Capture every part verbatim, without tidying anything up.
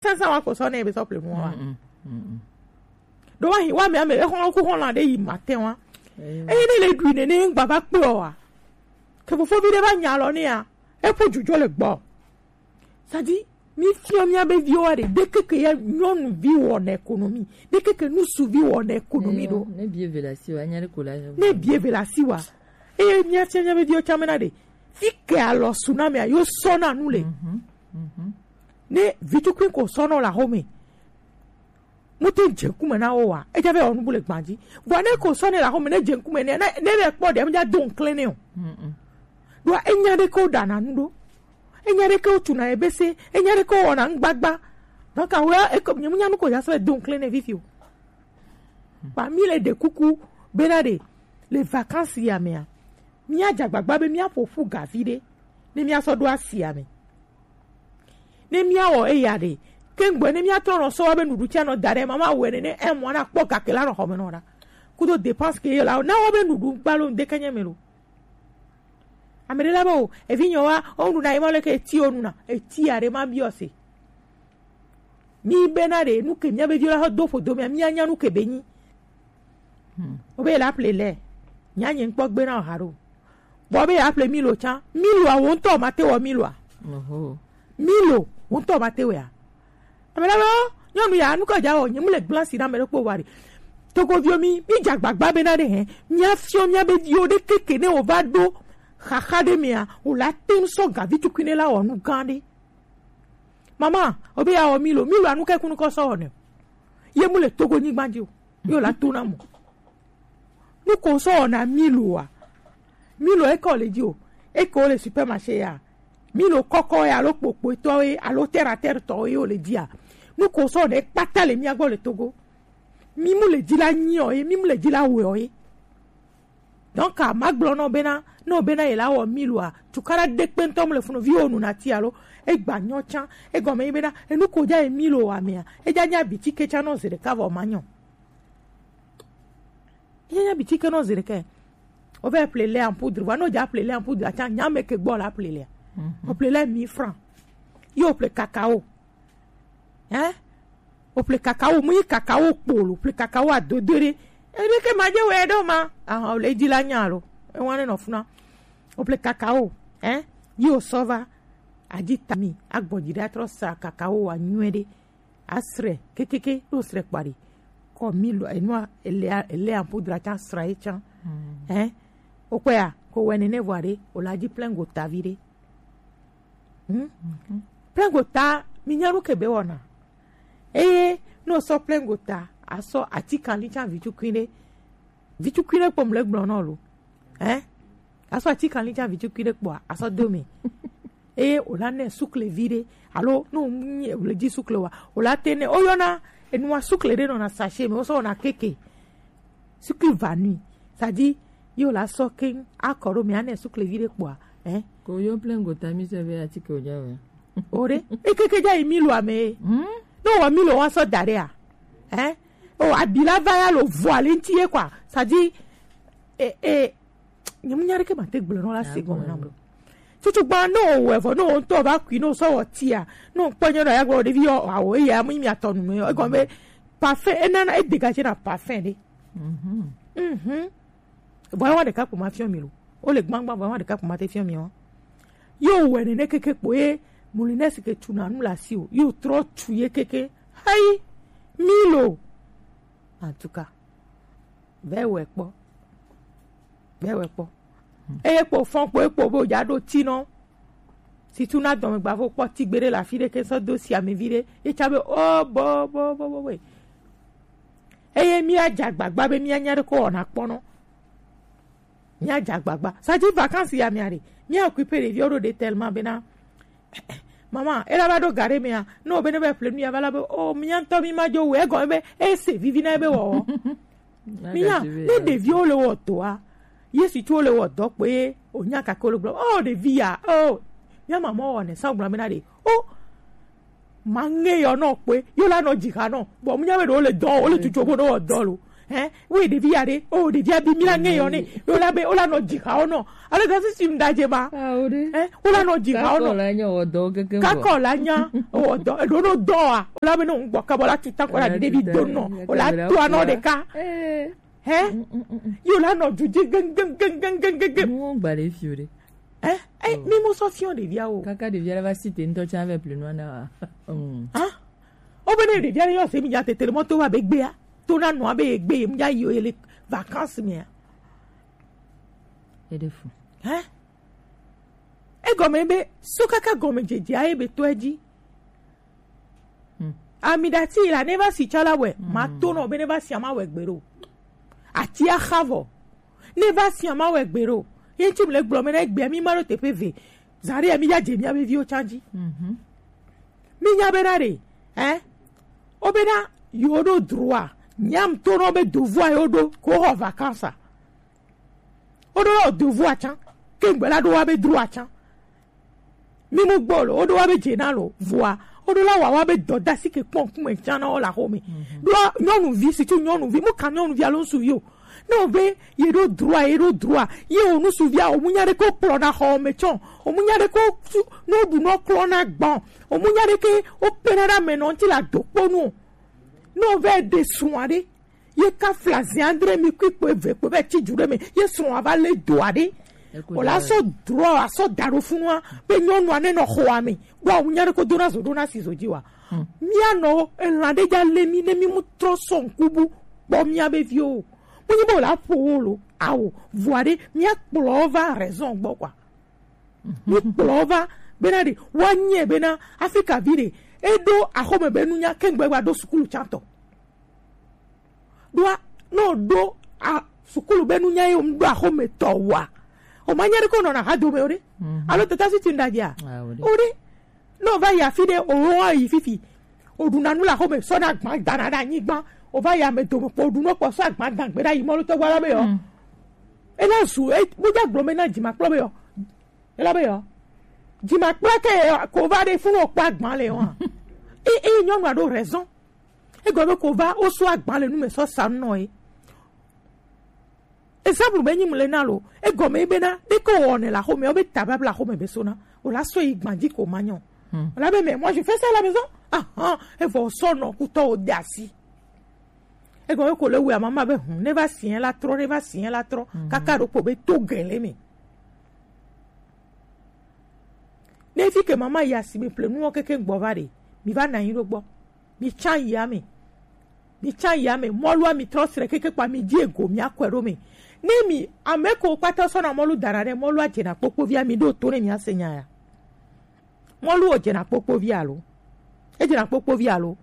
Sansan wa ko sɔ ne be sɔ ple mu wa. Mm, mm, mm, mm. Do wa hi wa mi ame e hɔn ku hɔn la de yi matin wa. Eh. E ne le du ne ne ngba va kpe o wa. Ke fofovi ɖe va nya lɔ nɛ ya, eƒe dzudzɔ le gbɔ. C'est-à-dire, mi fiɔ mia be viwo wa ɖe, ɖekeke ya nyɔnuvi wɔna économie, ɖekeke nusuvi wɔna économie ɖo. Ne bie ve la si wa, nya ɖe ko la. Ne bie ve la si wa. Eye mia fiɔ mia be viwo tsã mena ɖe, fi ke alɔ su na mea, yo sɔ na nu le. Mhm, mhm. Ne vitukui ko sɔ na la home. Mu te dze ŋkume na wo wa, edza be wɔ nubu le gba dzi. Vɔ ne ko sɔ ne la xɔme ne dze ŋkume ne ne ne le kpɔ ɖe, mu dza do ŋklɛ ne o. Mm-mm. Ɖoa enya ɖe ke wo ɖana nu ɖo, enya ɖe ke wo tuna ebe se, enya ɖe ke wo wɔna ŋgbagba. Donc awo ya eko nye mu nya nu ko ya sɔ do ŋklɛ ne fifi o. Ba mi le ɖe kuku bena ɖe le vacances ya mea, mia dza gbagba be mia ƒo ƒu ga vi ɖe ne mia sɔ ɖo asi ya me. Ne míawɔ eya ɖe, ke ŋgbɔ ne míatrɔ nɔ sɔ wa be nuɖuɖu tia nɔ da ɖe, mama wɛ nene, ɛ mɔ na kpɔ gake la nɔ xɔme nɔ ɖa. Kudo dépense ke ye la, na wa be nuɖu gbalo ŋdeke nye me lo. Ame ɖe la be o, evi nyɔ wa, o nu na ye ma le ke eti o nu na, eti ya ɖe ma biɔ se. Mi be na ɖe, nu ke mia be vi la xɔ do ƒo do mia, mia nya nu ke be nyi. Hmm. Wo be la ple lɛ. Nya nye ŋkpɔ gbe na o ha ɖo. Bɔ be ya ple Milo tsã. Milo a wo ŋutɔ ma te wɔ Milo a. Oho. Milo wo ŋutɔ ma te wɔ ya. Ame la be, o, nyɔnu ya, nu ka dza wɔ, nye mu le gblẽ asi na ame ɖe kpɔ wa ɖe. Togoviwo mi, mi dze agbagba be na ɖe hɛ. Mia fiɔ mia be viwo ɖe keke ne wo va ɖo xaxa ɖe mea, wo la te ŋu sɔ gavi tukui ne la wɔ nu gã ɖe. Mama, o be ya wɔ Milo, Milo anu ke kunu kɔ sɔ wɔ ne. Ye mu le Togo nyigba dzi o. Yo la to na mo. Nu ko sɔ na Milo wa. Milo e ko le dzi o. E ko le supermarché ya. Milo kɔkɔ ya alo kpokpo tɔ ye alo terre à terre tɔ ye o le dzi a. Nu ko sɔ ne kpata le mia gbɔ le Togo. Mi mu le dzi la nyi o ye, mi mu le dzi la wɛ o ye. Donc a ma gblɔ nɔ bena, nɔ bena ye la wɔ Milo a, tukara de kpe ŋutɔ mu le funu vi wo nu na ti alo, e gba nyɔ tsã, e gɔme yi bena, enu ko dza ye Milo wa mea, e dza nya bitike tsã nɔ zi ɖeka vɔ ma nyɔ. Ye nya bitike nɔ zi ɖeka. O vɛ ple lait en poudre, va no dza ple lait en poudre, atsã nya me ke gbɔ la ple lait. Mhm. O ple lait mille francs. Yo ple cacao. Hein? O ple cacao, mu yi cacao kpolo, o ple cacao adodo ɖe. Ebe ke ma dze wɛ ɖo ma. Aha, o le dzi la nya lo. E wane nɔ funa. O ple cacao, hein? Yi o sɔ va. Adzi tami, agbɔ dzi ɖe atrɔ sa cacao wa nyuie ɖe. Asrɛ, kekeke, ɖo srɛ kpa ɖe. Kɔ Milo, enua, ele, ele en poudre tsã sra ye tsã. Hmm. Hein? O kpɛ ya, ko wɛ nene vɔ ɖe, o la dzi plein gota vi ɖe. Hmm? Mhm. Plein gota, mi nya nu ke be wɔna. Eye, no sɔ plein gota, asɔ ati kanli tsã vi tukui ɖe. Vi tukui ɖe kpɔ mle gblɔ nɔ lo. Hein? Asɔ ati kanli tsã vi tukui ɖe kpɔa, asɔ do me. Eye o la ne sukle vi ɖe, alo no nyi le dzi sukle wa, o la te ne, o yɔna, enua sukle ɖe nɔna sachet me, o sɔ wɔna keke. Sukle vanui, c'est-à-dire, yo la sɔ keŋ, akɔ ɖo me, ane sukle vi ɖe kpɔa, hein? Ko yo plein gota mi se be ati ke o dza wɛ. O ɖe, e keke dza yi Milo ame. Hmm? No wɔ Milo wa sɔ da ɖe a. Hein? O abi la va ya lo vɔ ali ŋti ye quoi. C'est-à-dire, e, e, nye mu nya ɖeke ma te gblɔ nɔ la se gɔme na bro. Tutu gba no wɛ vɔ no ŋutɔ va kui no sɔ wɔ tia. No kpɔ nyɔ na ya gblɔ ɖevi yɔ awo eya mu mi atɔ nu me. E gɔme parfum e nana e dégage na parfum ɖe. Mhm. Mhm. Vɔ ewa ɖeka kpo ma fiɔ mi lo. O le gbangba vɔ ewa ɖeka kpo ma te fiɔ mi o. Yo wɛ nene keke kpo ye moulinette ke tu na nu la si o. Yo trɔ tu ye keke. Hayi. Milo. En tout cas. Vɛ wɛ kpɔ. Vɛ wɛ kpɔ. Eye kpo fɔn kpo ekpo bo dza ɖo ti nɔ. Situ na dɔme gbavo kpɔ ti gbe ɖe le afi ɖe ke sɔ do si ame vi ɖe. Ye tsa be o bo bo bo bo bo. Eye mía dze agbagba be mía nya ɖe ko wɔna kpɔ nɔ. Mía dze agbagba. Ça dit vacances ya mía ɖe. Mía occuper ɖeviwo ɖo ɖe tellement bena. Mama, ela va ɖo ga ɖe mea. No be ne be ple nu ya va la be. O, mía ŋutɔ mi ma dzo wɛ. Egɔme be, e se vivi na ebe wɔwɔ. Mía, ne ɖeviwo le wɔ dɔa. Yesu tso le wɔ dɔ kpe ye. O nya kake wo le gblɔ. O, ɖevi ya. O, mía mama wɔ ne sa gblɔ bena ɖe. O, ma ŋe yɔ nɔ kpe, yo la nɔ dzi xa nɔ. Bon, mu nya be ɖewo le dɔ, wo le tutu bo ɖo wɔ dɔ lo. Hein? Oui, ɖevi ya ɖe. Oh, ɖevi ya bi mi la ŋe yɔ ne. Yo la be, o la nɔ dzi xa o nɔ. Alors que si tu m'as dit, ma. Ah, o ɖe. Hein? O la nɔ dzi xa o nɔ. Kakɔ la nya wɔ dɔ keke vɔ. Kakɔ la nya wɔ dɔ. Eɖo no dɔ a. O la be no ŋgbɔ kabɔ la tuta kɔ la ɖevi do nɔ. O la to anɔ ɖeka. Eh. Hein? Yo la nɔ du dzi geng, geng, geng. Mo gba le fi o ɖe. Hein? Eh, mi mo sɔ fiɔ ɖevia o. Kaka ɖevia la va si te ŋutɔ tsa ve pli nua na wa. Mm. Hein? O be ne ɖevia le yɔ se mi ya tete le mɔ to wa be gbea. To na nua be gbe mi ya yi o ye le vacances mea. Eɖe fu. Hein? Egɔme be so kaka gɔme dzedze aye be to edzi. Hmm. Amidati la ne va si tsala wɛ, hmm, ma to nɔ be ne va si ama wɛ gbe ɖo. Ati axa vɔ. Ne va si ama wɛ gbe ɖo. Ye ŋuti mi le gblɔ me na egbea mi ma ɖo teƒe ve. Zã ɖe ya mi ya dze mia be viwo tsa dzi. Mhm. Mi nya be na ɖe, eh? O be na yo ɖo droit. Nyam to nɔ be dovoa yo ɖo ko xɔ vacances. O ɖo la o dovoa tsa. Ke ŋgbe la ɖo wa be droit tsa. Mi mu gbɔ lo, o ɖo wa be dze na lo, vɔa, o ɖo la wa wa be dɔdasi ke kpɔn kume tsa na o la xome. Mhm. Ɖo nyɔnuvi, situ nyɔnuvi, mu ka nyɔnuvi alo ŋsuvi o. Ne o be ye ɖo droit, ye ɖo droit, ye o ŋsuvia, o mu nya ɖe ko kplɔ na xɔ me tsɔ, o mu nya ɖe ko su, no ɖu no klɔ na gbɔn, o mu nya ɖe ke o kpe na ɖe ame nɔ ŋuti la do kponu o. Ne o vɛ ɖe srɔ̃a ɖe, ye ka fla zi andre mi kui kpo eve kpo be tsi dzu ɖe me, ye srɔ̃a va le doa ɖe. O la sɔ drɔ, asɔ da ɖo funua, be nyɔnua ne nɔ xɔa me. Bɔ awu nya ɖe ko dona zo ɖona si zo dzi wa. Hmm. Mia nɔ elã ɖe dza le mi ne mi mu trɔ sɔ ŋku bu kpɔ mia be viwo. Mu nyi be o la ƒo wo lo, awo, vɔa ɖe, mia kplɔ wo va raison gbɔ kwa. Mi kplɔ wo va, bena ɖe, woa nyɛ bena, Afrika vi ɖe, eɖo axɔme be nunya, ke ŋgbe gba ɖo sukulu tsã tɔ. Ɖoa, ne o ɖo a, sukulu be nunya ye o mu ɖo axɔme tɔ wa, o ma nya ɖe ko nɔ na ha dome o ɖe. Mhm. Alo tata si ti ŋɖa dzia? Ah, o ɖe. O ɖe. Ne o va yi afi ɖe, o wo yi fifi. O ɖu na nu le axɔme, sɔ na agba da na ɖe anyigba. O va yi ame dome kpɔ, o ɖu nɔ kpɔ, sɔ agba da gbe ɖa yi mɔlu tɔgba la be yɔ. Mm. Ela zu, e, mo dza gblɔ me na dzi ma kplɔ be yɔ. Ela be yɔ. Dzi ma kplɔ ke yɔ, ko va ɖe funu o kpɔ agba le yɔ. E, e, nyɔnua ɖo raison. Egɔme be ko va, o sɔ agba le nu me sɔ sa nɔ ye. Exemple be nyi mu le na lo. Egɔme ye bena, ɖe ke o wɔnɛ le axɔme, o be ta babla axɔme be sona. O la sɔ yi gba dzi ko ma nyɔ. Hmm. O la be, mais moi, je fais ça à la maison. Ah, ah, evɔ o sɔ nɔ kutɔ o de asi. Egɔme ko le wɛ amama be, hmm, ne va si la trɔ, ne va si la trɔ. Hmm. Kaka ɖo kpo be to gɛlɛ me. Ne fi ke mama yi asime ƒle nuwo keke gbɔ va ɖe, mi va nɔ anyi ɖo gbɔ. Mi tsa yi ame. Mi tsa yi ame. Mɔlua mi trɔ srɛ keke kpa mi di ego mi akɔe ɖo me. Ne mi ame ko kpata sɔ na mɔlu dana ɖe mɔlua dze na kpokpovia mi ɖo to ne mi ase nya ya. Mɔlu o dze na kpokpovia alo? E dze na kpokpovia alo?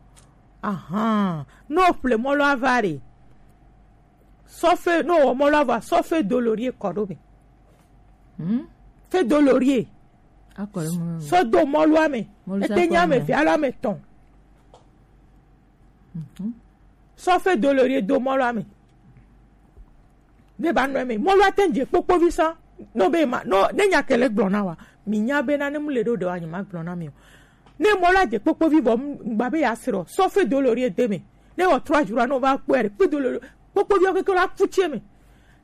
Ahan. No ƒle mɔlua va ɖe. Sɔ fe, no wɔ mɔlu ava, sɔ fe dolorie kɔ ɖo me. Hmm? Fe dolorie. Akɔ ɖe mɔlu. Sɔ do mɔlua me. Mɔlu sa ete nya kɔ me me. Ve alo ame tɔn. Mhm. Sɔ fe dolorie do mɔlua me. Ne ba nɔ me. Mɔlua te dze kpokpovi sa. No be ma, no, ne nya kele gblɔ na wa. Mi nya be na ne mu le ɖo ɖe wa nyi ma gblɔ na mi o. Ne mɔlua dze kpokpovi vɔ, m-, gba be ya srɔ. Sɔ fe dolorie de me. Ne wɔ trois jours, no va kpɔe ɖe. Kpe dolorie. Kpokpoviwo keke la fu tsi me.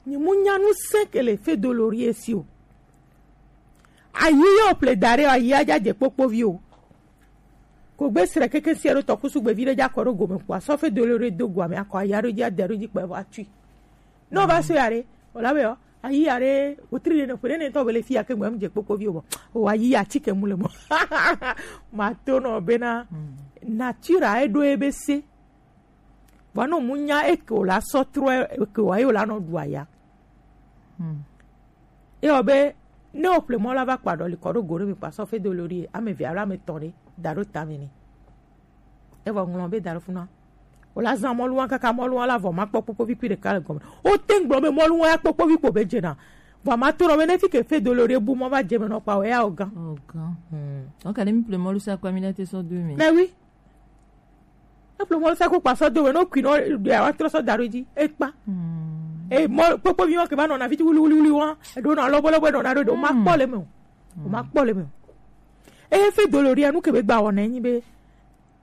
Nyi mu nya nu se ke le fe dolorie si o. Ayi yo ple da ɖe, ayi adza dze kpokpovi o. Ko gbe srɛ keke sia ɖo tɔ kusu gbevi ɖe dza kɔ ɖo gome kpoa, sɔ fe dolorie do gua me akɔ ayi aɖo dzi ade aɖo dzi kpɛ vɔ atui. Ne o va so ya ɖe, o la be yɔ, ayi ya ɖe, o tri ɖe ne ƒe ɖe ne tɔ be le fi ya ke gbe mu dze kpokpovi o bɔ. O ayi ya tsi ke mu le mɔ. Ma to nɔ bena, mm, nature a eɖo ebe se. Vɔ no mu nya eke o la sɔ trɔ eke o ayi o la nɔ ɖu aya. Hmm. Eyɔ be ne o ƒle mɔ la va kpa ɖɔ li kɔ ɖo go ɖe mi kpa sɔ fe dolorie ame ve alo ame tɔn ɖe da ɖo ta me ne. Evɔ ŋlɔ be da ɖo funa. O la zan mɔlu wa kaka mɔlu wa la vɔ ma kpɔ kpokpovi kui ɖeka le gɔme. O te ŋgblɔ be mɔlu wa ya kpokpovi kpo be dzena. Vɔ ma to nɔ be ne fi ke fe dolorie bu mɔ va dze me nɔ kpa o ya o gan. O gan. Hmm. O ka ne mi ƒle mɔlu sa kpa mi na te sɔ do mi. Mais oui. Eƒle mɔ sa ko kpa sɔ do we no kui no ɖe wa trɔ sɔ da ɖo dzi ekpa. Hmm. E mɔ kpokpovi wa ke va nɔ na fiti wuli wuli wuli wa. Eɖo na lɔbɔ lɔbɔ nɔ na ɖo ɖo ma kpɔ le me o. O ma kpɔ le me o. E fe dolorie nu ke be gba wɔ na nyi be.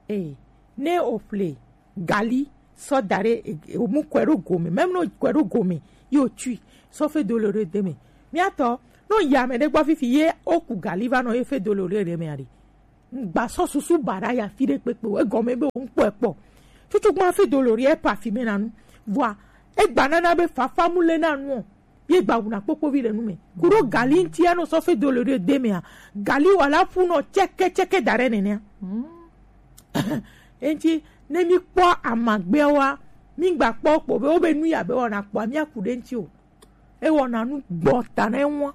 E ne o ƒle gali sɔ da ɖe e- e- o mu kɔe ɖo gome, mɛmu no kɔe ɖo gome, yi o tui sɔ fe dolo ɖe de me. Miatɔ no yi ame ɖe gbɔ fifi ye o ku gali va nɔ ye fe dolo ɖe ɖe me aɖe. Ŋgba sɔ susu ba ɖa ya fi ɖe kpekpe o, egɔme be o ŋkpɔ ekpɔ. Tutu gbã fe dolo ɖe e parfumé na nu. Vɔa egba nana be fafa mu le na nu o. Ye gba wuna kpokpo vi le nu me. Kuɖo gali ŋti anɔ sɔ fe dolo ɖe de mea. Gali wala fu nɔ tsɛkɛ tsɛkɛ da ɖe nenea. Eŋti ne mi kpɔ amagbeawoa, mi gba kpɔ kpɔ be wo be nu ya be wɔna kpɔa mi aku ɖe ŋti o. E wɔna nu gbɔ ta na ewa.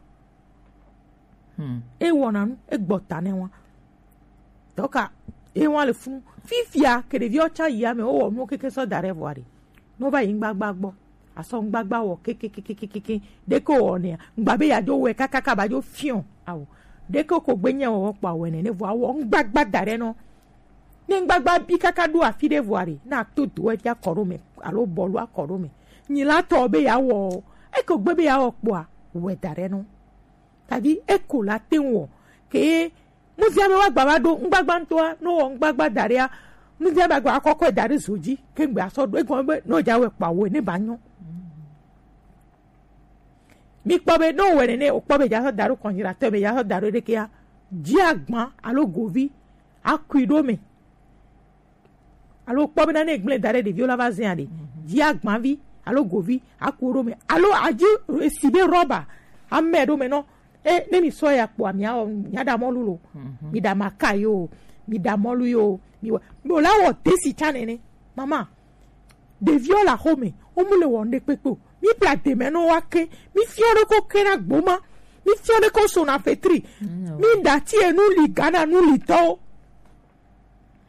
E wɔna nu e gbɔ ta na ewa. Tɔka ewa le funu. Fifia ke ɖeviwo tsa yi ame wo wɔ nuwo keke sɔ da ɖe vɔa ɖe. No va yi ŋgbagba gbɔ. Asɔ ŋgbagba wɔ kekekekekeke. Ɖeke wɔ nea. Ŋgba be ya dzo wɛ kakaka ba dzo fiɔ. Awo. Ɖeke ko gbe nye wɔ kpɔ awɛ nene vɔa wɔ ŋgbagba da ɖe nɔ. Ne ŋgbagba bi kaka ɖo afi ɖe vɔa ɖe, na to do evi akɔ ɖo me alo bɔlu akɔ ɖo me. Nyi la tɔ be ya wɔ o. Eko gbe be ya wɔ kpɔa, wɛ da ɖe nɔ. Tadi eko la te wɔ. Ke muzia be wa gba va ɖo ŋgbagba ŋtɔa, no wɔ ŋgbagba da ɖea, muzia be gba kɔkɔ da ɖe zo dzi, ke ŋgbe asɔ ɖo egɔme be no dza wɛ kpɔa wɛ ne ba nyɔ. Mi kpɔ be ne wowɔe nene, wokpɔ be dza sɔ da ɖo congélateur me, dza sɔ da ɖo ɖekea, dzi agba alo govi akui ɖo me. Alo kpɔ bena ne egblẽ da ɖe ɖeviwo la va zẽa ɖe, dzi agbavi alo govi aku ɖo me. Alo adzi esi be rɔba amɛ ɖo me nɔ. E ne mi sɔ ya kpɔa mia wɔ mia ɖa mɔlu lo, mi ɖa maka yo, mi ɖa mɔlu yo, mi wɔ, mi wɔ la wɔ desi tsa nene. Mama, ɖeviwo le axome, wo mu le wɔnu ɖe kpekpe o. Mi ƒle ademɛ nɔ wa ke, mi fiɔ ɖe ko ke na gboma, mi fiɔ ɖe ko so na fetri, mi ɖa ti enu li Ghana nu li tɔwo,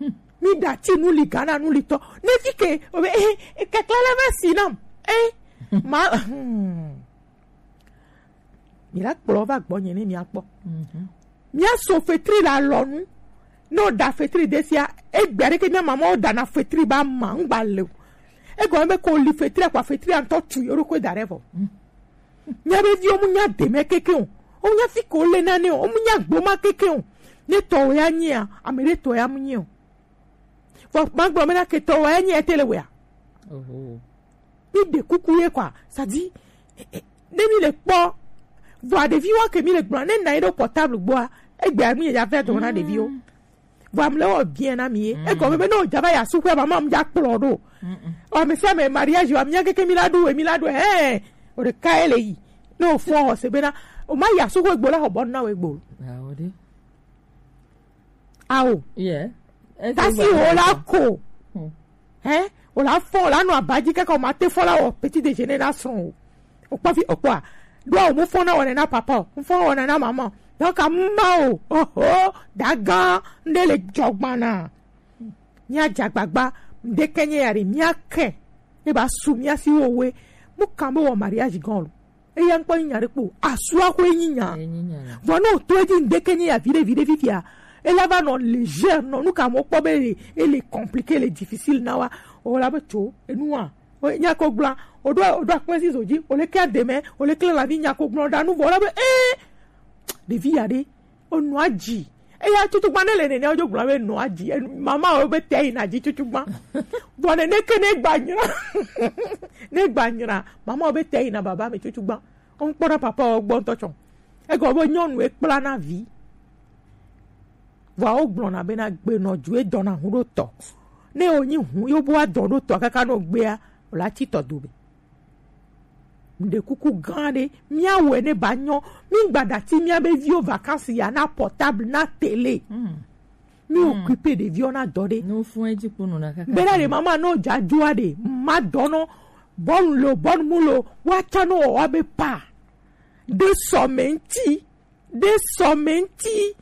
mi ɖa ti nu li Ghana nu li tɔ. Ne fi ke o be eh, eh, kekle le va si nam, eh, ma, hmm. Mi la kplɔ va gbɔ nye ne mia kpɔ. Mia so fetri la lɔnu. Ne o da fetri desia, egbe aɖeke mia mamawo dana fetri ba ma ŋgba le o. Egɔme be ko li fetri akpa fetri antɔ tu yo ɖokui da ɖe vɔ. Mia be viwo mu nya deme keke o. O nya fi ko le nane o. O mu nya gboma keke o. Ne tɔ o ya nyia, ame ɖe tɔ ya mu nyi o. Vɔ magblɔ me na ketɔ wa enye ete le wea. Mi ɖe kuku ye kwa, sadi ne mi le kpɔ vɔa ɖeviwo ke mi le gblɔ ne na yi ɖo portable gbɔa, egbe ami ya fɛ dɔ na ɖeviwo. Vɔa mi le wɔ bien na mi ye. Egɔme be ne o dza va ya su kua mama mi dza kplɔ ɖo. O ame sia ame mariage wa mi nya keke mi la ɖu mi la ɖu ɛ o ɖeka ye le yi. Ne o fɔ o se be na o ma ya su kua egbo la xɔ bɔ na o egbo. Ao. Tasi wo la ko. Hein? O la fɔ, o la nɔ abadzi kaka o ma te fɔ la wɔ petit déjeuner na srɔ̃ o. O kpɔ fi o kpɔa. Do o mu fɔ na wɔ na papa o. Mu fɔ wɔ na mama. Donc a ma o. Oho. Dagan nde le jɔgbana. Mia dzagbagba nde kenye ya re mia ke. Ne ba su mia si wo we. Mu kan be wɔ mariage gan lo. Eya ŋkpɔ nyi nya ɖe kpo. Asua ko enyi nya. Vɔ ne o to edzi ŋdeke nyi ya viɖe viɖe fifia. Ela va nɔ légère nɔ nu ka mo kpɔ be ele, ele compliqué, ele difficile na wa. O la be tso enua. O nya ko gbla. O do o do akpɛ si zo dzi. O le kɛ deme. O le kle la vi nya ko gbla da nu vɔ la be eh. Ɖevi ya ɖe. O nua dzi. Eya tutu gba ne le nene o jo gblɔ be nua dzi. Mama o be te yina dzi tutu gba. Vɔ ne ne ke ne gba nyra. Ne gba nyra. Mama o be te yina baba me tutu gba. Ŋkpɔna papa wo gbɔ ŋutɔ tsɔ. Egɔ be nyɔnu ekpla na vi. Vɔa wo gblɔna be na gbe nɔ ju edɔ na hu ɖo tɔ. Ne wo nyi hu yo bo adɔ ɖo tɔ kaka no gbea, o la tsi tɔ do be. Mɖe kuku gã ɖe, mía wɔe ne ba nyɔ. Mi gba ɖati mía be viwo vacances ya na portable na télé. Mi occupé ɖeviwo na dɔ ɖe. Ne wo fún edzi kpo nɔ na kaka. Bena ɖe mama no dza dzoa ɖe, ma dɔ nɔ, bɔnu lo, bɔnu mu lo, wa tsa no wa be pa. De sɔmɛ ŋti, de sɔmɛ ŋti.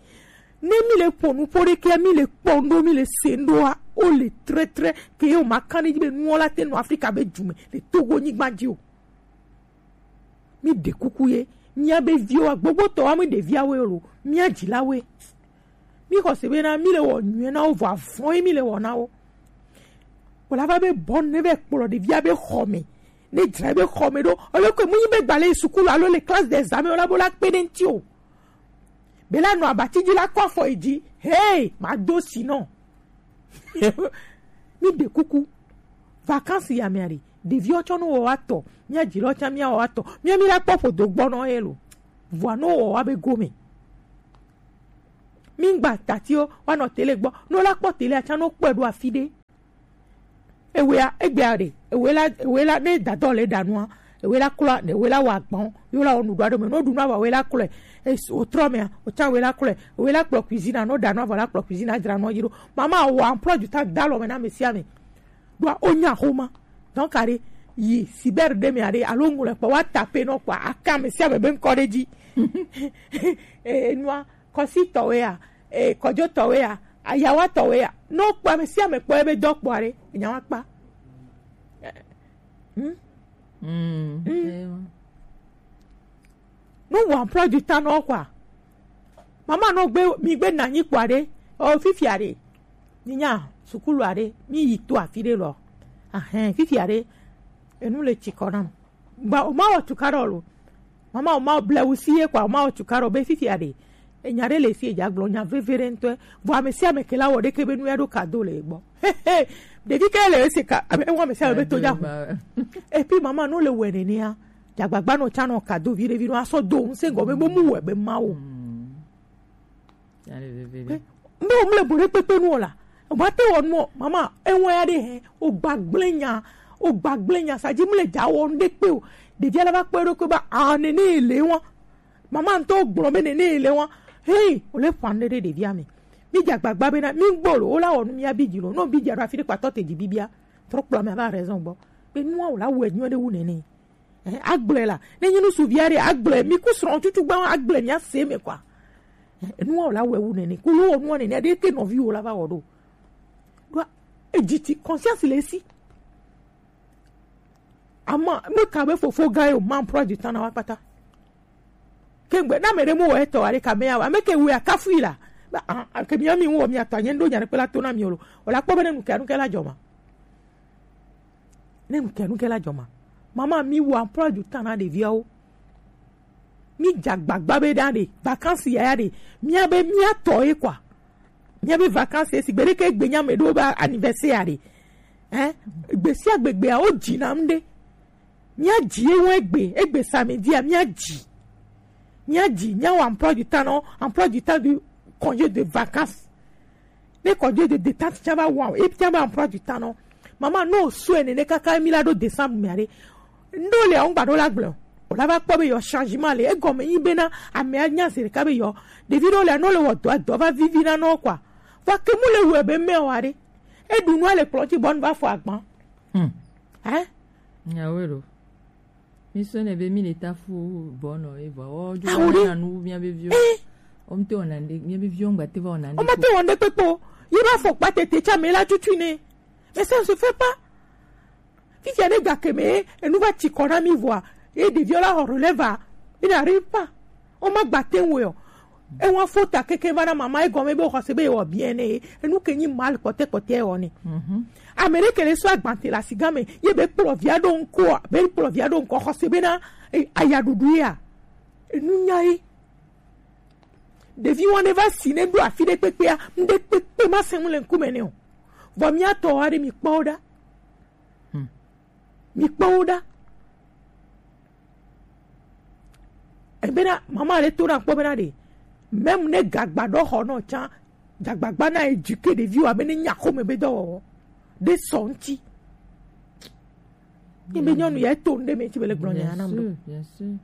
Ne mi le ƒo nuƒo ɖe kea, mi le kpɔ ŋɖo, mi le se ŋɖoa, o le trɛtrɛ ke ye o ma kan ɖe dzi be nuwo la te nɔ Afrika be dume le Togo nyigba dzi o. Mi ɖe kuku ye, mía be viwo, gbogbotɔ wa mi ɖe viawo lo, mía dzilawoe. Mi xɔ se bena mi le wɔ nyuie na wo, vɔ avɔn ye mi le wɔ na wo. Wòla va be bɔnu ne va kplɔ ɖevia be xɔ me, ne dzra be xɔ me ɖo, alo ke mu nyi be gba le sukulu alo le classe des examens wala bo la kpe ɖe ŋti o. Be la nɔ abati dzi la kɔ afɔ yi dzi, hey, ma do si nɔ. Mi ɖe kuku. Vacances ya mia ɖe, ɖeviwo tsɔ no wɔ wa tɔ, mia dzi lɔ tsã mia wɔ wa tɔ, mia mi la kpɔ ƒodo gbɔ nɔ ye lo. Vɔa no wɔ wa be gome. Mi gba tatiwo wa nɔ tele gbɔ, no la kpɔ tele atsã no kpɔe ɖo afi ɖe. Ewea, egbea ɖe, ewe la, ewe la, ne dadɔ le ɖa nua, ewe la klo, ewe la wa gbɔn, yo la wɔ nu ɖo aɖe me, no ɖu nua va we la kloe, es-, o trɔ mea, o tsã we la kloe, ewe la kplɔ cuisine, no ɖa nua va la kplɔ cuisine, adzra nua yi ɖo. Mama wɔ emploi du temps da lɔ me na ame sia ame. Ɖoa, wonya xoma. Donc, aɖe, yi cyber ɖe me aɖe, alo ŋlɔe kpɔ, wa tape nɔ kpɔa, aka ame sia ame be ŋkɔ ɖe dzi. E, nua, kɔsi tɔwea, e, kɔdzo tɔwea, ayawa tɔwea. No kpɔ ame sia ame kpɔ ebe dɔ kpɔ aɖe, enya wa kpa. Hmm? Mm. Mm. No wɔ emploi du temps nɔ kpɔa. Mama nɔ gbe, mi gbe na nyi kpɔa ɖe, o fifia ɖe. Ni nya, sukulu aɖe, mi yi to afi ɖe lɔ. Ahɛn, fifia ɖe, enu le tsi kɔ nam. Gba, o ma wɔ tuka ɖɔ lo. Mama, o ma wɔ ble wusi ye kpɔa, o ma wɔ tuka ɖɔ be fifia ɖe. Enya ɖe le fi edza gblɔ, nya veve ɖe ŋutɔ. Vɔ ame sia ame ke la wɔ ɖeke be nu ya ɖo kado le egbɔ. Ɖevi ke le ese ka, abe, ewa ame sia ame be to dza hu. Et puis mama, no le wɛ nenea. Dzagbagba nɔ tsa nɔ kado vi ɖe vi nɔ asɔ do ŋusẽ gɔme be mu wɛ be mawo. Be mle bo ɖe kpekpe nu o la. O ma te wɔ nu o, mama, ewa ya ɖe hɛ, o gba gblẽ nya, o gba gblẽ nya, sa dzi mle dza wɔ nu ɖe kpe o. Ɖevia la va kpɔ eɖokui be, ah, nene ele wa. Mama ŋutɔ gblɔ be nene ele wa. Hey, o le ƒan ɖe ɖe ɖevia me. Mi dze agbagba be na, mi gbɔ lo, o la wɔ nu mi abi dzi lo. No bi dze ɖo afi ɖe kpatɔ te dzi bibia. Trɔ kplɔ ame ava raison gbɔ. Be nua o la wɔ nyuie ɖe wu nene. Eh, agblɔe la. Ne nyi nu suvi aɖe, agblɔe. Mi ku srɔ̃ tutu gba agblɔe mi ase me kwa. Eh, nua o la wɔ wu nene. Ku lo wɔ nua nene, ɖe ke nɔvi o la va wɔ ɖo. Ɖo edzi ti conscience le esi. Ama, me ka be fofo gã yo, man prɔ du temps na wa kpata. Ke gbe, na me ɖe mo wɔ etɔ aɖe ka me ya wa, me ke wɔ akafui la. Ba, ah, ah, ke mi ami wɔ mi atɔ, nye ndo nya ɖe kpe la to na mi o lo. O la kpɔ be ne nu ke, nu ke la dzɔ ma. Ne nu ke, nu ke la dzɔ ma. Mama, mi wɔ emploi du temps na ɖeviawo. Mi dze agbagba be ɖa ɖe, vacances yaya ɖe, mia be mia tɔ ye kwa. Mia be vacances, sigbe ɖe ke gbe nya me ɖo be anniversaire ɖe. Hein? Gbe sia gbe gbea, wo dzi nam ɖe. Mia dzi ye wo egbe, egbe samedi a, mia dzi. Mia dzi, mia wɔ emploi du temps nɔ, emploi du temps du congé de vacances. Ne kɔdze de détente tsã va wa, e tsã va emploi du temps nɔ. Mama, no sue nene kaka mi la ɖo décembre mea ɖe. Ndo le ŋgba ɖo la gblɔ. O la va kpɔ be yɔ changement le. Egɔme nyi be na amea nya se ɖeka be yɔ. Ɖevi ɖewo le no le wɔ dɔ, dɔ va vivi na nɔ kwa. Va ke mu le wɔ be mɛ wa ɖe. E ɖu nua le kplɔ dzi bɔ nu va fɔ agban. Hmm. Hein? Nyawe ɖo. Mi sɔnɛ be mi le ta fu bɔnɔ e vɔ. O jo na nu mia be viwo. Eh. O mi te wɔna nde, mia be viwo ŋgba te va wɔna nde. O ma te wɔna nde kpekpe o. Ye ba fɔ kpa tete tsa me la tutu ne. Mais ça ne se fait pas. Fifia ne ga ke me, enu va tsi kɔ na mi vɔa. Ye ɖeviwo la xɔ relève a. Il n'arrive pas. O ma gba te ŋu o. Ewa fota keke va na mama egɔme be xɔse be ewɔ bien ne. Enu ke nyi mal kpɔtɛ kpɔtɛ ewɔ ne. Mhm. Ame ɖe ke le so agbante le asi game, ye be kplɔ via ɖo ŋkɔ, be kplɔ via ɖo ŋkɔ xɔse be na, eh, ayaɖuɖu ya. Enu nya ye. Ɖevi wɔn ne va si ne ɖo afi ɖe kpekpea, ŋɖe kpekpe ma se ŋu le ŋkume ne o. Vɔ mia tɔ wa ɖe mi kpɔ wo ɖa. Hmm. Mi kpɔ wo ɖa. Ebe na mama ɖe to na kpɔ be na ɖe. Même ne gagba ɖɔ xɔ nɔ tsã, gagbagba na éduquer ɖeviwo abe ne nya xome be dɔwɔwɔ. Ɖe sɔ ŋuti. Ni be nyɔnu ya to ŋɖe me tsi be le gblɔ nya na mɖo. Bien sûr, bien sûr.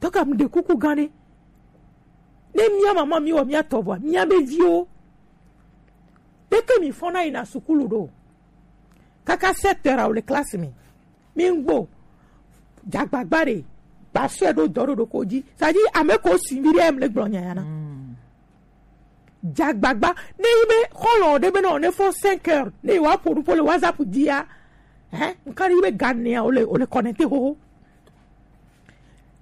Donc, am ɖe kuku gã ɖe. Ne mia mama mi wɔ mia tɔ vɔa, mia be viwo. Ɖeke mi fɔna yina sukulu ɖo. Kaka sept heures awo le classe me. Mi ŋgbo. Dzagbagba ɖe. Ba sɔe ɖo dɔ ɖo ɖo ko dzi. Ça dit, ame ko si vi ɖe em le gblɔ nya ya na. Mm. Dzagbagba. Ne yi be xɔlɔ ɖe be na ne fɔ cinq heures. Ne wa ƒo nu ƒo le WhatsApp dzi ya. Hein? Nka yi be ganea o le, o le connecté xoxo.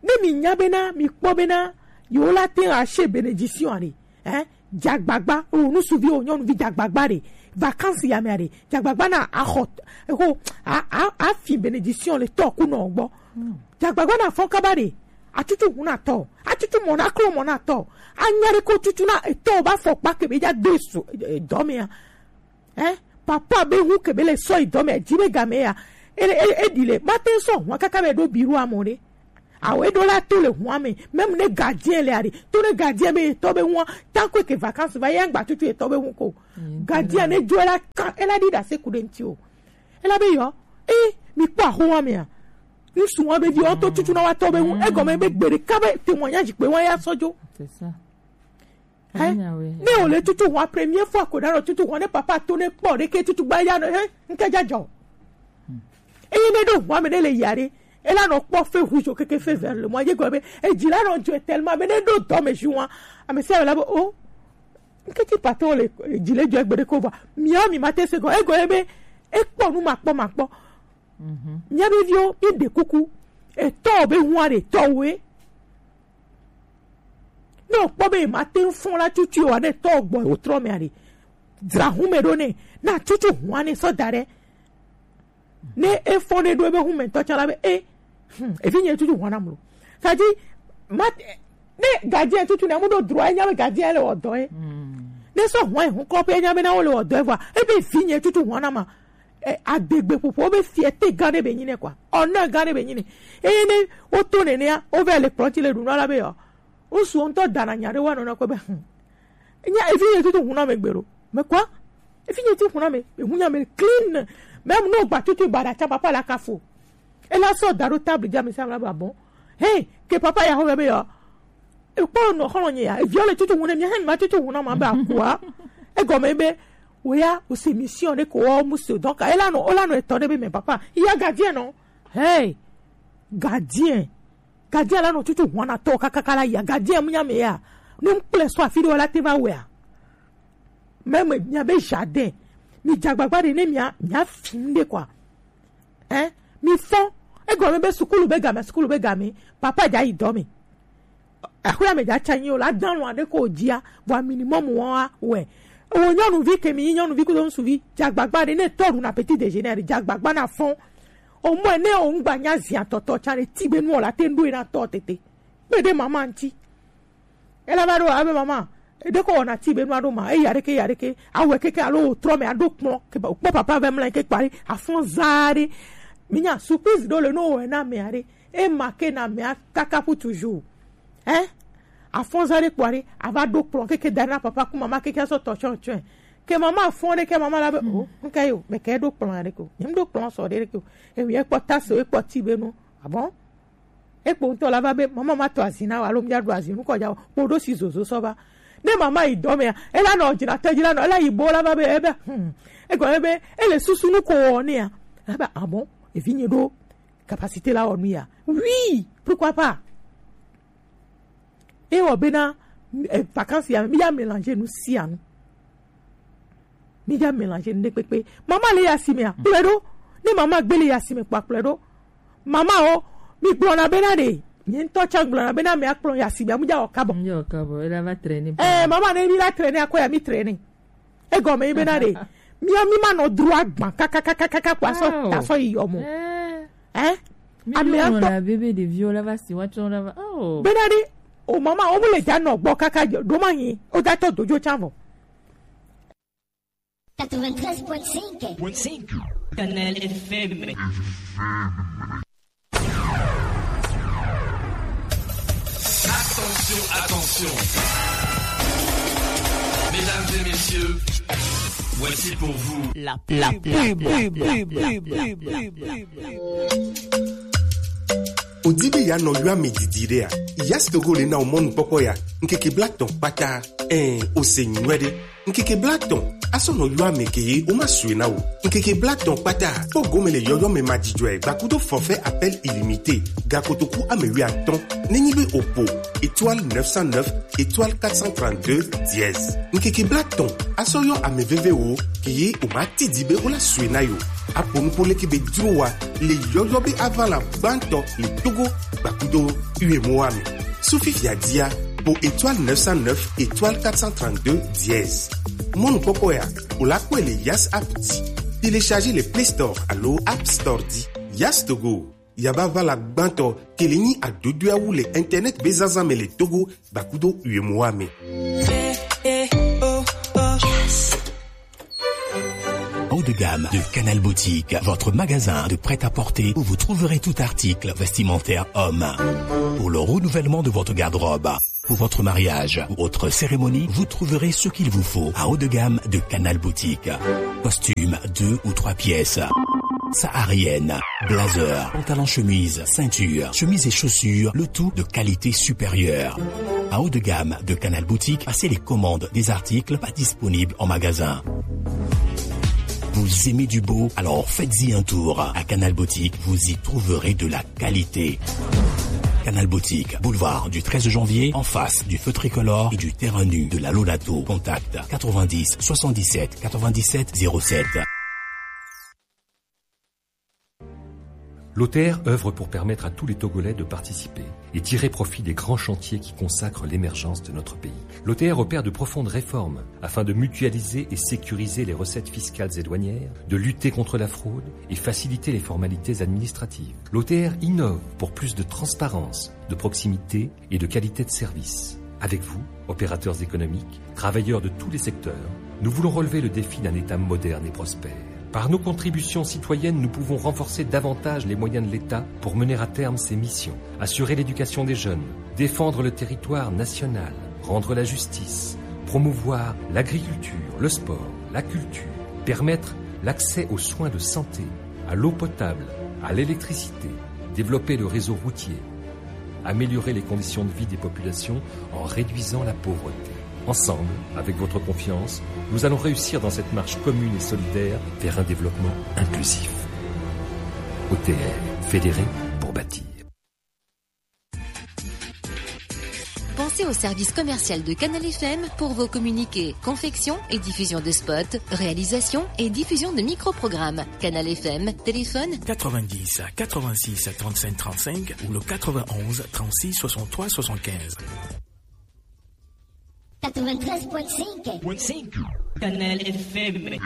Ne mi nya bena, mi kpɔ bena, yewo la te ŋu ache bénédiction aɖe. Hein? Dzagbagba, o nusuvi, o nyɔnuvi dzagbagba ɖe. Vacances ya mea ɖe. Dzagbagba na axɔ, exo, a, a, afi bénédiction le tɔ ku nɔ gbɔ. Hmm. Dzagbagba na fɔ kaba ɖe. Atutu ŋu na tɔ. Atutu mɔ na klo mɔ na tɔ. Anya ɖe ko tutu na etɔ ba fɔ kpa ke be dza do su, eh, dɔ mea. Hein? Papa be hu ke be le sɔ yi dɔ me, dzi be game ya. E, e, e ɖi le, ma te sɔ hua kaka be ɖo biro amɔ ɖe. Awo e ɖo la to le hua me, même ne gardien le ari, to ne gardien be etɔ be hua, tant que ke vacances va, ya gba tutu etɔ be hu ko. Gardien ne jo la kan, e la ɖi da se ku ɖe ŋti o. E la be yɔ, e, mi kpɔ ahowa me a. Ŋsu wa be vi, ɔtɔ tutu na wa tɔ be hu, egɔme be gbe ɖeka be témoignage kpe wa ya sɔ jo. C'est ça. Hein? Ne o le tutu hɔn, première fois ko ɖa nɔ tutu hɔn, ne papa to ne kpɔ ɖe ke tutu gba ya nɔ, hein, ŋke ja jɔ. Eye ne ɖo hɔn me ne le ya ɖe, e la nɔ kpɔ feu rouge keke feu vert le mɔ, ye gɔ be, e dzi la nɔ jo tellement be ne ɖo dɔ me ju wa, ame sia ame la be, o, ŋke ti papa o le, dzi le jɔ egbe ɖe ko vɔ, mia mi ma te se gɔ, e gɔ ye be, e kpɔ nu ma kpɔ ma kpɔ. Mia be viwo, mi ɖe kuku, etɔ be hua ɖe tɔ we. Ne o kpɔ be ma te ŋu fɔn la tutu wa ne tɔ gbɔ o trɔ me aɖe. Dzra hu me ɖo ne. Na tutu hua ne sɔ da ɖe. Ne e fɔn ne ɖo ebe hu me tɔ tsã la be e. Hmm, evi nye tutu hua na mlo. Kadi ma ne gardien tutu ne amu ɖo droit enya be gardien le wɔ dɔ ye. Ne sɔ hua hu kɔ pe enya be na wo le wɔ dɔ ye vɔ. Ebe vi nye tutu hua na ma. Eh, adegbe ƒoƒo be fierté gã ɖe be nyi ne quoi. Honneur gã ɖe be nyi ne. Eye ne woto nenea, wova le kplɔ̃ ti le ɖu nua la be yɔ. Ŋsu ŋutɔ dana nya ɖe woanɔ na kɔ be, hmm. Nya evi nye tutu ŋu na me gbe ɖo. Me quoi? Evi nye tutu ŋu na me. Eŋu nya me clean. Même no gba tutu ba ɖa tsa papa la kafo. Ela sɔ da ɖo table dzi ame sia ame la be abɔ. Hey, ke papa ya xɔ be yɔ. Ekpɔ nɔ xɔlɔ nye ya. Eviɔ le tutu ŋu ne mi hɛn ma tutu ŋu na ma be akua. Egɔme be, oya, o se mission ɖe ko wɔ mu se. Donc, ela nɔ, ola nɔ etɔ ɖe be me papa. Iya gardien nɔ. Hey, gardien. Gardien la nɔ tutu ŋu na tɔ kakaka la ya. Gardien mu nya me ya. Ne mu kple sɔ afi ɖe wala te va wea. Même mia be jardin. Mi dzagbagba ɖe ne mia, mia fi ŋɖe quoi. Hein? Mi fɔ. Egɔme be sukulu be game, sukulu be game. Papa dza yi dɔ me. Axwla me dza tsa nyi o la dan lɔ aɖe ko dzia. Vɔ minimum wa wɛ. O nyɔnuvi ke mi nyɔnuvi kudo ŋsuvi. Dzagbagba ɖe ne tɔ ɖu na petit déjeuner. Dzagbagba na fɔ. O mɔ ne o ŋgba nya zia tɔtɔ tsa ɖe ti be nu o la te ŋɖo yi na tɔ tete. Kpe ɖe mama ŋti. Ela va ɖo abe mama, eɖe ko wɔna ti be nua ɖo ma, eya ɖeke, eya ɖeke, awɛ keke alo wòtrɔ me aɖo kplɔ̃, ke ba, kpɔ papa vɛ mla ke kpari, afɔn za ɖe. Minya surprise ɖo le no wɔ na me aɖe. E ma ke na me akaka pu toujours. Hein? Afɔn za ɖe kpari, ava ɖo kplɔ̃ keke da na papa ku mama keke sɔ tɔ tsɔn tsɔn. Ke mama afɔn ɖe ke mama la be, oh, nke yo, me ke ɖo kplɔ̃ aɖe ko. Nyem ɖo kplɔ̃ sɔ ɖe ko. E mi ekpɔ tasse, ekpɔ ti be nu. Ah bon? Ekpo ŋutɔ la va be, mama ma tɔ azi na o, alo mía ɖu azi nukɔ dza o, kpo ɖo si zozo sɔ va. Ne mama yi dɔ mea, ela nɔ dzina te dzi la nɔ, ela yi bo la va be, ebe, hmm, egɔme be, ele susu nu ko wɔ nea. Ebe, ah bon, evi nye ɖo capacité la wɔ nu ya. Oui, pourquoi pas? E wɔ bena, eh, vacances ya, mi ya mélanger nu sia nu. Mi ja mélanger nu ɖe kpekpe. Mama le ya si me a, kplɔe ɖo. Ne mama gbe le ya si me kpɔ, kplɔe ɖo. Mama o, mi gblɔna bena ɖe. Nye ŋutɔ tsa gblɔna bena me akplɔ ya si me a, mu ja wɔ kabɔ. Mu ja wɔ kabɔ, ela va traîner. Eh, mama ne mi la traîner akɔ ya mi traîner. Egɔme yi bena ɖe. Mi mi ma nɔ dro agban kakakakaka kpɔ asɔ tasɔ yi yɔ mo. Eh? Ame atɔ. Bebe ɖeviwo la va si wa tsɔ la va. Oh. Bena ɖe. O mama, o mu le ja nɔ gbɔ kaka ɖo ma nyi. O ja tɔ dojo tsa vɔ. Quatre-vingt-treize point cinq. Canal F M. Attention, attention. Mesdames et messieurs, voici pour vous la, la pub. Odi be ya nɔ yɔ ame didi ɖea? Yas Togo le na o mɔnukpɔkpɔ ya. Ŋkeke blatɔn kpata. Ɛn, o se nyuiɖe. Ŋkeke blatɔn. Asɔ nɔ yɔ ame ke ye o ma sue na o. Ŋkeke blatɔn kpata. Kpɔ gome le yɔyɔ me ma dzidzɔe gbakudo forfait appel illimité. Gakotoku ame wi atɔn. Nenyi be o po étoile neuf cent neuf étoile quatre cent trente-deux dièse. Ŋkeke blatɔn. Asɔ yɔ ame veve wo ke ye o ma ti di be o la sue na yo. Apo nupo leke be dro wa le yɔyɔ be avala gbãtɔ le Togo gbakudo U E M O A me. Sufi fiadia po étoile neuf cent neuf étoile quatre cent trente-deux dièse. Mɔnukpɔkpɔ ya, o la kpɔe le Yas app dzi. Télécharger le Play Store alo App Store dzi. Yas Togo, yaba vala gbãtɔ ke le nyi adodoawu le internet be zazã me le Togo gbakudo U E M O A me. Eh, eh, oh, oh. Yes. Haut de gamme de Canal Boutique, votre magasin de prêt-à-porter où vous trouverez tout article vestimentaire homme. Pour le renouvellement de votre garde-robe, pour votre mariage ou autre cérémonie, vous trouverez ce qu'il vous faut à haut de gamme de Canal Boutique. Costume, deux ou trois pièces. Saharienne, blazer, pantalon chemise, ceinture, chemise et chaussures, le tout de qualité supérieure. À haut de gamme de Canal Boutique, passez les commandes des articles pas disponibles en magasin. Vous aimez du beau ? Alors faites-y un tour. À Canal Boutique, vous y trouverez de la qualité. Canal Boutique, boulevard du treize janvier, en face du feu tricolore et du terrain nu de la Lolato. Contact quatre-vingt-dix soixante-dix-sept quatre-vingt-dix-sept zéro sept. L'O T R œuvre pour permettre à tous les Togolais de participer et tirer profit des grands chantiers qui consacrent l'émergence de notre pays. L'O T R opère de profondes réformes afin de mutualiser et sécuriser les recettes fiscales et douanières, de lutter contre la fraude et faciliter les formalités administratives. L'O T R innove pour plus de transparence, de proximité et de qualité de service. Avec vous, opérateurs économiques, travailleurs de tous les secteurs, nous voulons relever le défi d'un État moderne et prospère. Par nos contributions citoyennes, nous pouvons renforcer davantage les moyens de l'État pour mener à terme ses missions, assurer l'éducation des jeunes, défendre le territoire national, rendre la justice, promouvoir l'agriculture, le sport, la culture, permettre l'accès aux soins de santé, à l'eau potable, à l'électricité, développer le réseau routier, améliorer les conditions de vie des populations en réduisant la pauvreté. Ensemble, avec votre confiance, nous allons réussir dans cette marche commune et solidaire vers un développement inclusif. O T R, fédérer pour bâtir. Pensez au service commercial de Canal F M pour vos communiqués, confection et diffusion de spots, réalisation et diffusion de micro-programmes. Canal F M, téléphone quatre-vingt-dix quatre-vingt-six trente-cinq trente-cinq ou le quatre-vingt-onze trente-six soixante-trois soixante-quinze. Quatre-vingt-treize point cinq. Canal F M.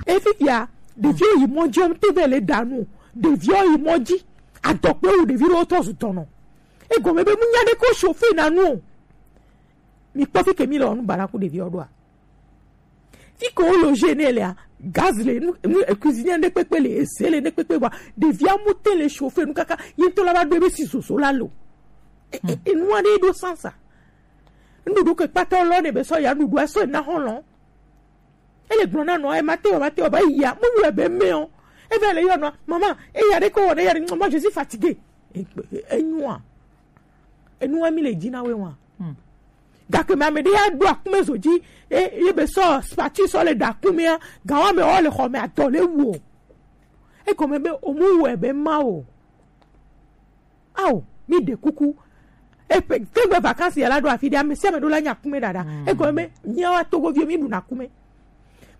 Efifia, ɖeviwo yi mɔ dzi, ɔmtɔ ve le ɖa nu. Ɖeviwo yi mɔ dzi. Adɔkpe wu ɖevi ɖewo trɔ zu dɔnɔ. Egɔme be mu nya ɖe ko chauffeur na nu o. Mi kpɔ fi ke mi le wɔ nu bana ku ɖeviwo ɖoa. Fi ke wo loger ne lea, gaz le, nu, nu, cuisinière ne kpekpe le, ese le ne kpekpe, bua ɖevia mu te le chauffer nu kaka, ye ŋutɔ la va ɖo ebe si zozo la lo. E, e, enua ɖe ɖo sansa. Nuɖuɖu ke kpata lɔ ne be sɔ ya nuɖuɖu sɔ na xɔlɔ. Ele gblɔ na nɔ, e ma te o, ma te o, ba ya, mu yɔ be me o. E va le yɔ nɔ, maman, e ya ɖe ko wɔ ne ya ɖe, maman, je suis fatiguée. E, e, enua. Enua mi le dzi na we wa. Hmm. Gake me ame ɖe ya ɖo akume zo dzi, e, ye be sɔ spati sɔ le ɖa akumea, gawa me wɔ le xɔ me adɔ le wu o. Egɔme be omu wɔ be ma o. Ao, mi ɖe kuku. Eƒe tegbe vacances ya la ɖo afi ɖe, ame sia ame ɖo la nya akume ɖaɖa. Mm. Egɔme be míawo Togoviwo mi ɖuna akume.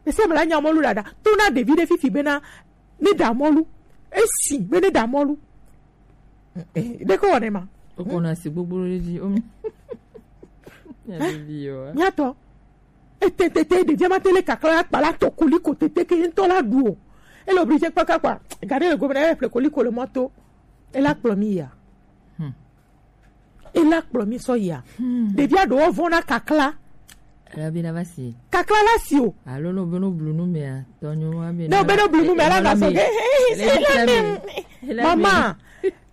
Ame sia ame la nya mɔlu ɖaɖa. To na ɖevi ɖe fifi bena ne ɖa mɔlu. Esi be ne ɖa mɔlu. Eh, eh, ɖe ko wɔne ma. Oko na si gbogbo ɖe dzi, omi. Ya ɖevi yo. Míatɔ. Ete, te, te, ɖevia ma te le kakla akpa la tɔ koliko tete ke ŋutɔ la ɖu o. Ele obligé kpaka kpa. Gade le gome na ye ƒle koliko le mɔto. Ela kplɔ mi ya. Hmm. Ela kplɔ mi sɔ ya. Hmm. Ɖevia ɖewo vɔ̃ na kakla. Ela be na va si. Kakla la si o. Alo no be no blu nu mea, tɔnyo wa be. No be no blu nu mea, la va sɔ ge. Ela me. Mama.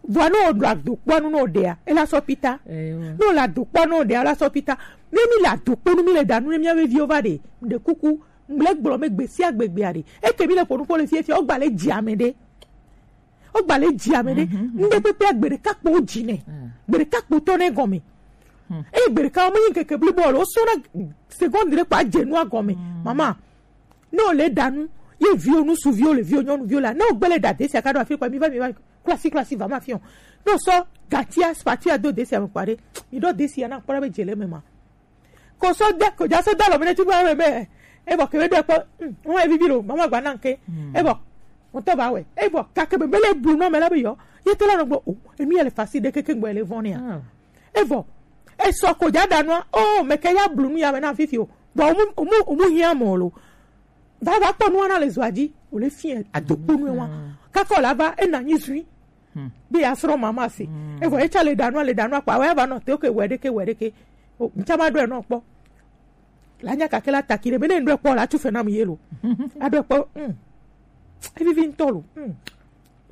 Vɔa ne wòɖo adokpoa nu ne wòɖea, ela sɔ pita. Ewa. Ne wòle adokpoa ne wòɖea, ela sɔ pita. Ne mi le adokpo nu, mi le ɖa nu ne mía veviwo va ɖe, ɖe kuku, ŋgble gblɔ me gbe sia gbe gbea ɖe. Eke mi le ƒo nu ƒo le fiefia, wogba le dzi ame ɖe. Wogba le dzi ame ɖe. Mhm, mhm. Ŋɖe kpekpea gbe ɖeka kpo wo dzi nɛ. Ah. Gbe ɖeka kpo tɔ nɛ gɔme. Hmm. Eye gbe ɖeka wo menyi ŋkeke blibo o, wosɔna seconde ɖe kpo adze nua gɔme. Hmm. Mama, ne wòle ɖa nu, ye viwo ŋutsuviwo le viwo nyɔnuviwo la, ne wògbe le ɖa desia ka ɖo afi kpa, mi va, mi va, klasi, klasi, va ma fi o. Ne wòsɔ gatia, spatia do desia me kpa ɖe, mi ɖo desia na kpɔ ɖa be dze le eme ma. Ko sɔ de, ko dza sɔ de alɔ me ne tsi va me be, e bɔ ke be ɖo ekpɔ, mm, wo evivi lo, mama gba na ŋke. Mm. E bɔ, ŋutɔ ba wɛ. E bɔ, kake be, be le blu nɔ me la be yɔ, ye te la nɔ gbɔ, o, enu ya le fasi ɖe keke gbɔ le vɔn ya. Ah. E bɔ, e sɔ ko dza ɖa nua, o, me ke ya blu nu ya me na fifi o. Bɔ, o mu, o mu, o mu hiã mɔ lo. Va, va kpɔ nua na le zoa dzi, o le fiɛ adokpo nu wa. Mm. Kaka o la va, e na nyi zui. Hmm. Be ya srɔ̃ mama si. Hmm. Evɔ etsa le ɖa nua, le ɖa nua kpa, wa ya va nɔ te, oke, wɛ ɖeke, wɛ ɖeke. O, ŋtsa ma ɖo enɔ kpɔ. La nya kake la taki ɖe, be ne ŋɖɔe kpɔ la, tu fɛ na mu ye lo. Aɖɔe kpɔ, mm. Evivi ŋutɔ lo. Mm.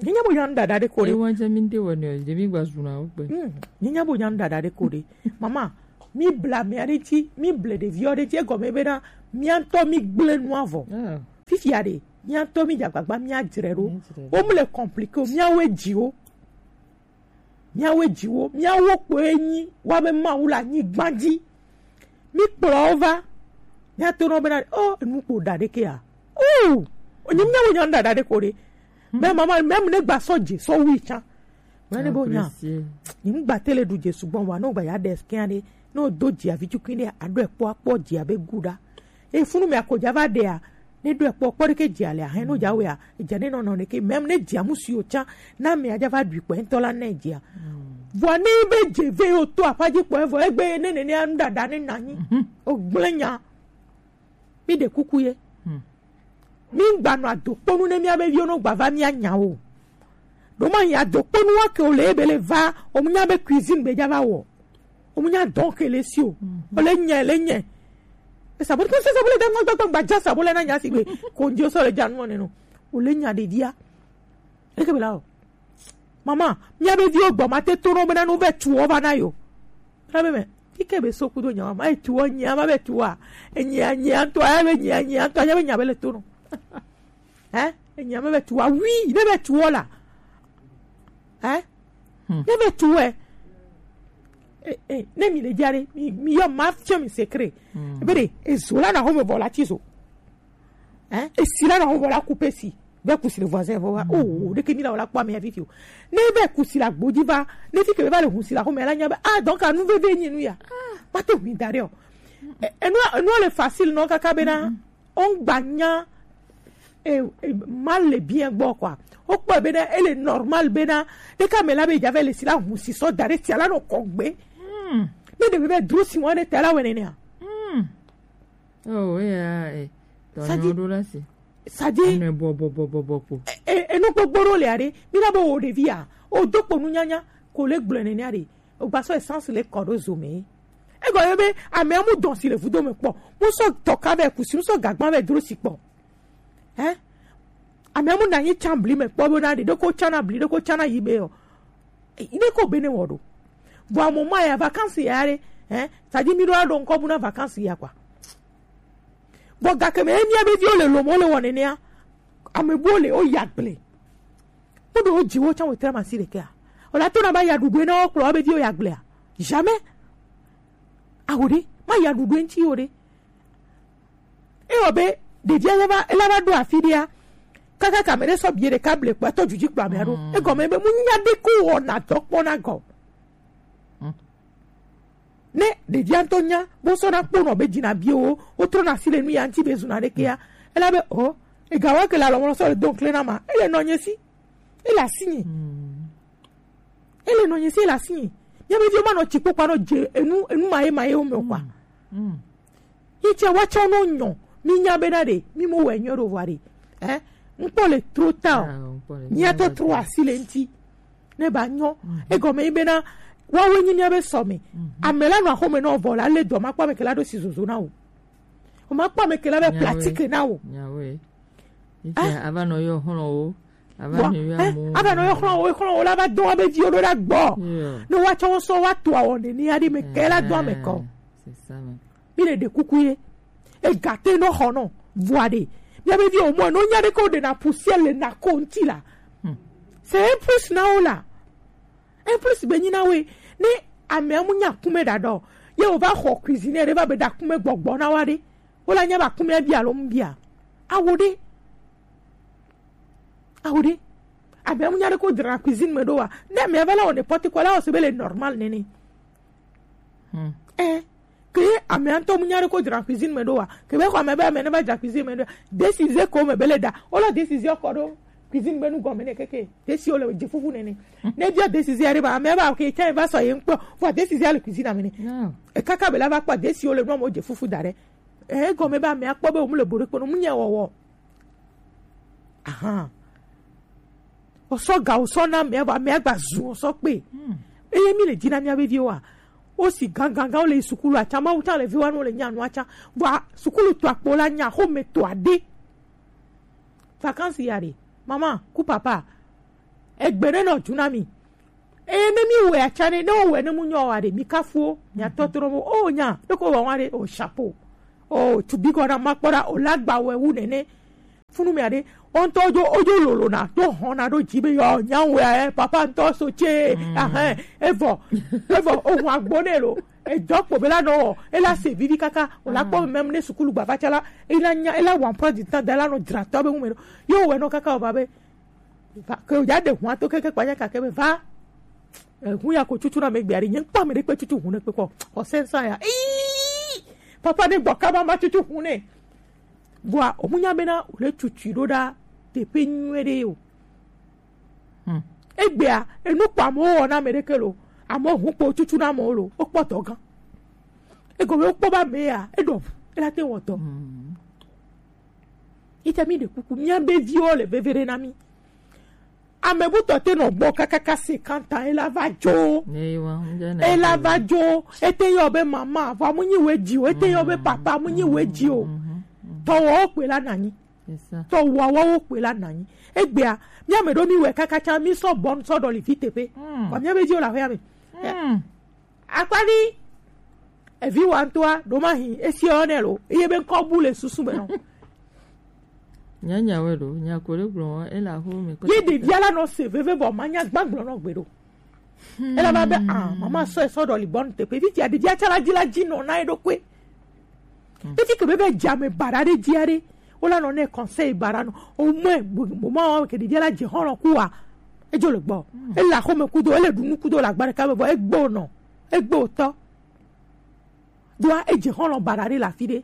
Nye nya bo nya nu ɖaɖa ɖe ko ɖe. Ewa dze mi ŋde wɔ ne, dze mi gba zuna wo gbe. Mm. Nye nya bo nya nu ɖaɖa ɖe ko ɖe. Mama, mi bla mia ɖe ŋuti, mi ble ɖeviwo ɖe ŋuti, egɔme bena mia ŋutɔ mi gblẽ nua vɔ. Ah. Fifia ɖe, mia ŋutɔ mi dze agbagba, mia dzre ɖo. Mia dzre ɖo. Wo mu le compliqué o, miawoe dzi wo. Miawoe dzi wo, miawo kpoe nyi woabe Mawu le anyigba dzi. Mi kplɔ wo va. Miato nɔ bena, oh, enu kpo ɖa ɖekea. Oh, onye miawo nya ɖa ɖa ɖe ko ɖe. Mɛ mama, mɛ mu ne gba sɔ dze sɔ wui tsã. Mɛ ne bo nya. Apprécier. Ni mu gba tele ɖu dze sugbɔ wa, no gba ya ɖe scan ɖe. No do dzi avi tukui ɖe, aɖɔe kpɔ akpɔ dzi abe gu ɖa. E funu mɛ ako dza va ɖea. Ne ɖo ekpɔ kpɔ ɖeke dzi ale ahe no dza wea, edze ne nɔnɔ ɖeke, même ne dzi amu si o tsã, na mɛ adza va ɖui kpɔ ŋutɔ la ne dzia. Vɔ ne be dze ve o to aƒa dzi kpɔ evɔ egbe ne nene anu ɖaɖa ne nanyi. O gblẽ nya. Mi ɖe kuku ye. Mi gba nɔ adokponu ne mia be viwo no gba va mia nya o. Ɖo ma nya adokponu wa ke o le ebe le va, o mu nya be cuisine be dza va wɔ. O mu nya dɔn ke le si o. O le nyɛ, le nyɛ. E sabole, ke se sabole da ŋgba, ŋgba, ŋgba, ja sabole na nya si gbe. Ko ndi o so le ja nu ne no. O le nya ɖevia. Eke be la o. Mama, mia be viwo gbɔ ma te to no be na nu ve tu o va na yo. Ra be me. Kike be so kudo nya ma e tu o nya ma be tu a. E nya nya to a be nya nya to a be nya be le to no. Eh? E nya me be tu a. Oui, ne be tu o la. Eh? Ne be tu e. Eh, eh, ne mi le jare, mi, mi yo ma fia mi secret. Be de, e zo la na ho me vola ti zo. Eh? E si la na ho vola couper si. Be ku si le voisin vo wa. Oh, de ke mi la wala kwa me ya fifi o. Ne be ku si la gboji va, ne fi ke be va le hu si la ho me la nya be. Ah, donc anu veve nyi nu ya. Ma te hu mi dare o. Eh, enu, enu le facile non kaka be na. O ŋgba nya e, e, mal le bien gbɔ quoi. O kpɔ be na ele normal be na ɖeka me la be dza vɛ le si la hu si sɔ da ɖe sia la nɔ kɔ gbe. Ne ɖe be dro si wa ɖe ta la wɛ nene a. Oh, yeah, eh. Sadi. Tɔnyɔ ɖo la si. Sadi. Ne bɔ bɔ bɔ bɔ bɔ ko. E, e, enu gbogbo ɖo le aɖe. Mi na be wo ɖevi a. O do kpo nu nyanya ko le gblɔ nene aɖe. O gba sɔ essence le kɔ ɖo zo me. Egɔ ye be amea mu dɔn si le vudo me kpɔ. Mu sɔ tɔka vɛ kusi, mu sɔ gagba vɛ dro si kpɔ. Eh? Amea mu na nyi tsan bli me kpɔ be na ɖe ɖeko tsana bli, ɖeko tsana yi be o. Ɖeko be ne wɔ ɖo. Vɔ amo ma ya vacances ya ɖe. Eh? Sadi mi ɖo aɖo ŋkɔ bu na vacances ya kwa. Vɔ gake me emia be viwo le lomo le wɔ nenea. Ame buwo le o ya gble. Woɖo wo dziwo tsã wòtre masi ɖekea? Wòle ato na va ya ɖuɖue na wo kplɔ wobe viwo ya gblea? Jamais. Aho ɖe, ma ya ɖuɖue ŋuti o ɖe. Ewɔ be ɖevia ya va, ela va ɖo afi ɖea, kaka ka ame ɖe sɔ bie ɖeka ble kpɔ etɔ dzudzi kplɔ amea ɖo. Egɔme be mu nya ɖe ko wɔna dɔ kpɔna gɔ. Ne ɖevia ŋutɔ nya, bo sɔ na kpɔnɔ be dzina biewo, wotrɔna asi le nu ya ŋuti be zuna ɖekea. Ela be, o, ega wa ke le alɔmɔ sɔ le do ŋkle na ma. Ele nɔ nye si. Ele asi nyi. Ele nɔ nye si, ele asi nyi. Mia be viwo ma nɔ tsi kpokpa nɔ dze enu, enu ma ye ma ye wo me o kwa. Yi tsɛ wa tsɔ no nyɔ. Mi nya be na ɖe, mi mo wɛ nyɔ ɖo vɔ ɖe. Eh? Ŋkpɔ le trop tard o. Mia tɔ tro asi le ŋuti. Ne ba nyɔ. Egɔme yi bena, woawoe nyi mia be sɔ me. Ame la nɔ axome na wo vɔ la, le dɔ ma kpɔ ame ke la ɖo si zozo na wo. O ma kpɔ ame ke la be pratique na wo. Nyawoe. Ike ava nɔ yɔ xlɔ wo. Ava nɔ yɔ amu. Ava nɔ yɔ xlɔ wo, xlɔ wo la va dɔ wa be viwo ɖo ɖa gbɔ. Ne wa tsɔ wo sɔ wa to awɔ ne ni aɖe me ke la dɔ ame kɔ. Mi le ɖe kuku ye. Ega te nɔ xɔ nɔ. Vɔa ɖe. Mia be viwo mɔ no nya ɖe ko ɖe na poussière le na ko ŋuti la. C'est un plus na wo la. En plus be nyi na we ne amea mu nya kume ɖa ɖɔ ye wo va xɔ cuisinier ɖe va be ɖa kume gbɔgbɔ na wa ɖe wo la nya ba kume bia lo mu bia awo ɖe awo ɖe amea mu nya ɖe ko dra cuisine me ɖo wa ne amea va la wo n'importe quoi la wo se be le normal nene. Eh, ke ye amea ŋutɔ mu nya ɖe ko dzra cuisine me ɖo wa. Ke be xɔ ame be ame ne va dzra cuisine me ɖo. Décision ko me be le ɖa. Wo lɔ décision kɔ ɖo cuisine be nu gɔme ne keke. Desi wo le dze fufu nene. Ne bia décision ɖe ba amea ba ke tsa va sɔ ye ŋkpɔ. Vɔ décision le cuisine me ne. E kaka be la va kpɔ desi wo le nu mo dze fufu da ɖe. E gɔme be amea kpɔ be wo mu le bo ɖe kpɔ no mu nya wɔwɔ. Ahan. Wòsɔ ga wòsɔ na amea vɔ amea gba zu wòsɔ kpe. Eye mi le dzi na mia be viwo a, Wo si gangan gan wo le yi sukulu atsa, Mawu tsa le vi wa nu wo le nya nu atsa. Vɔa sukulu to akpo la nya xome to ade. Vacances ya ɖe, mama ku papa, egbe ɖe nɔ dzu na mi. Eye ne mi wɛ atsa ɖe, ne wo wɛ ne mu nyɔ wa ɖe, mi kafu wo, mi atɔ to ɖo mo. O nya ɖe ko wa wa ɖe, o chapeau. O tu bi gɔ na ma kpɔ ɖa, o la gba wɛ wu nene. Funu mi aɖe, o ŋutɔ ojo ojo lolo na to hɔn na ɖo dzi be yɔ nya wɛ, eh, papa ŋutɔ so tse, ahɛn, evɔ, evɔ, o hun agbo ne lo. Edɔ kpo be la nɔ wɔ, ela se vivi kaka, o la kpɔ mɛm ne sukulu gbava tsa la, ela nya, ela wa emploi du temps da la nɔ dzra tɔ be ŋu me ɖo. Yo wɛ nɔ kaka o va be, va, ke o ya ɖe hun ato keke kpanya kake be va. Eh, hun ya ko tutu na me gbe ari, nye kpɔ ame ɖe kpe tutu hun ne kpe kɔ, o sensa ya. Ii! Papa ne gbɔ kaba ma tutu hun ne. Vɔa, o mu nya bena o le tutu ɖo ɖa teƒe nyuie ɖe o. Hmm. Egbea, enu kpɔ amewo wɔ na ame ɖeke lo, amewo hun kpo tutu na amewo lo, o kpɔ tɔ gan. Egɔme o kpɔ ba me ya, e ɖɔ, e la te wɔ tɔ. Hmm. Ite mi ɖe kuku, mia be viwo le veve ɖe na mi. Ame butɔ te nɔ gbɔ kakaka se kanta, e la va dzo. E la va dzo, e te yɔ be mama, vɔa mu nyi we dzi o, e te yɔ be papa, mu nyi we dzi o. Tɔwɔwo kpe la nanyi. Tɔwɔwo kpe la nanyi. Egbea, mia me ɖo mi wɛ kaka tsa, mi sɔ bɔn sɔ ɖɔ li fi teƒe. Kɔ mia be dzi o la hɔya me. Akpani, evi wa ŋutɔa ɖo ma hi esi yɔ nɛ lo, eye be ŋkɔ bu le susu me nɔ. Nyanya wɛ ɖo, nya ko ɖe gblɔ wɔ, ele axo me kɔ. Ye ɖevia la nɔ se veve bɔ ma nya gbagblɔ nɔ gbe ɖo. Ela va be ah, mama sɔ esɔ ɖɔ li bɔn teƒe. Evi tia ɖevia tsa la dzi la dzi nɔ na eɖokui. Evi ke be be dza me baɖa ɖe dzia ɖe. Wo la nɔ ne conseil baɖa nɔ. O mɛ mo ma ke ɖevia la dze xɔlɔ ku wa. Edzo le gbɔ. Ele axo me kudo, ele ɖu nu kudo le agba ɖeka me vɔ egbo nɔ. Egbe wòtɔ. Doa edze xɔlɔ baɖa ɖe le afi ɖe.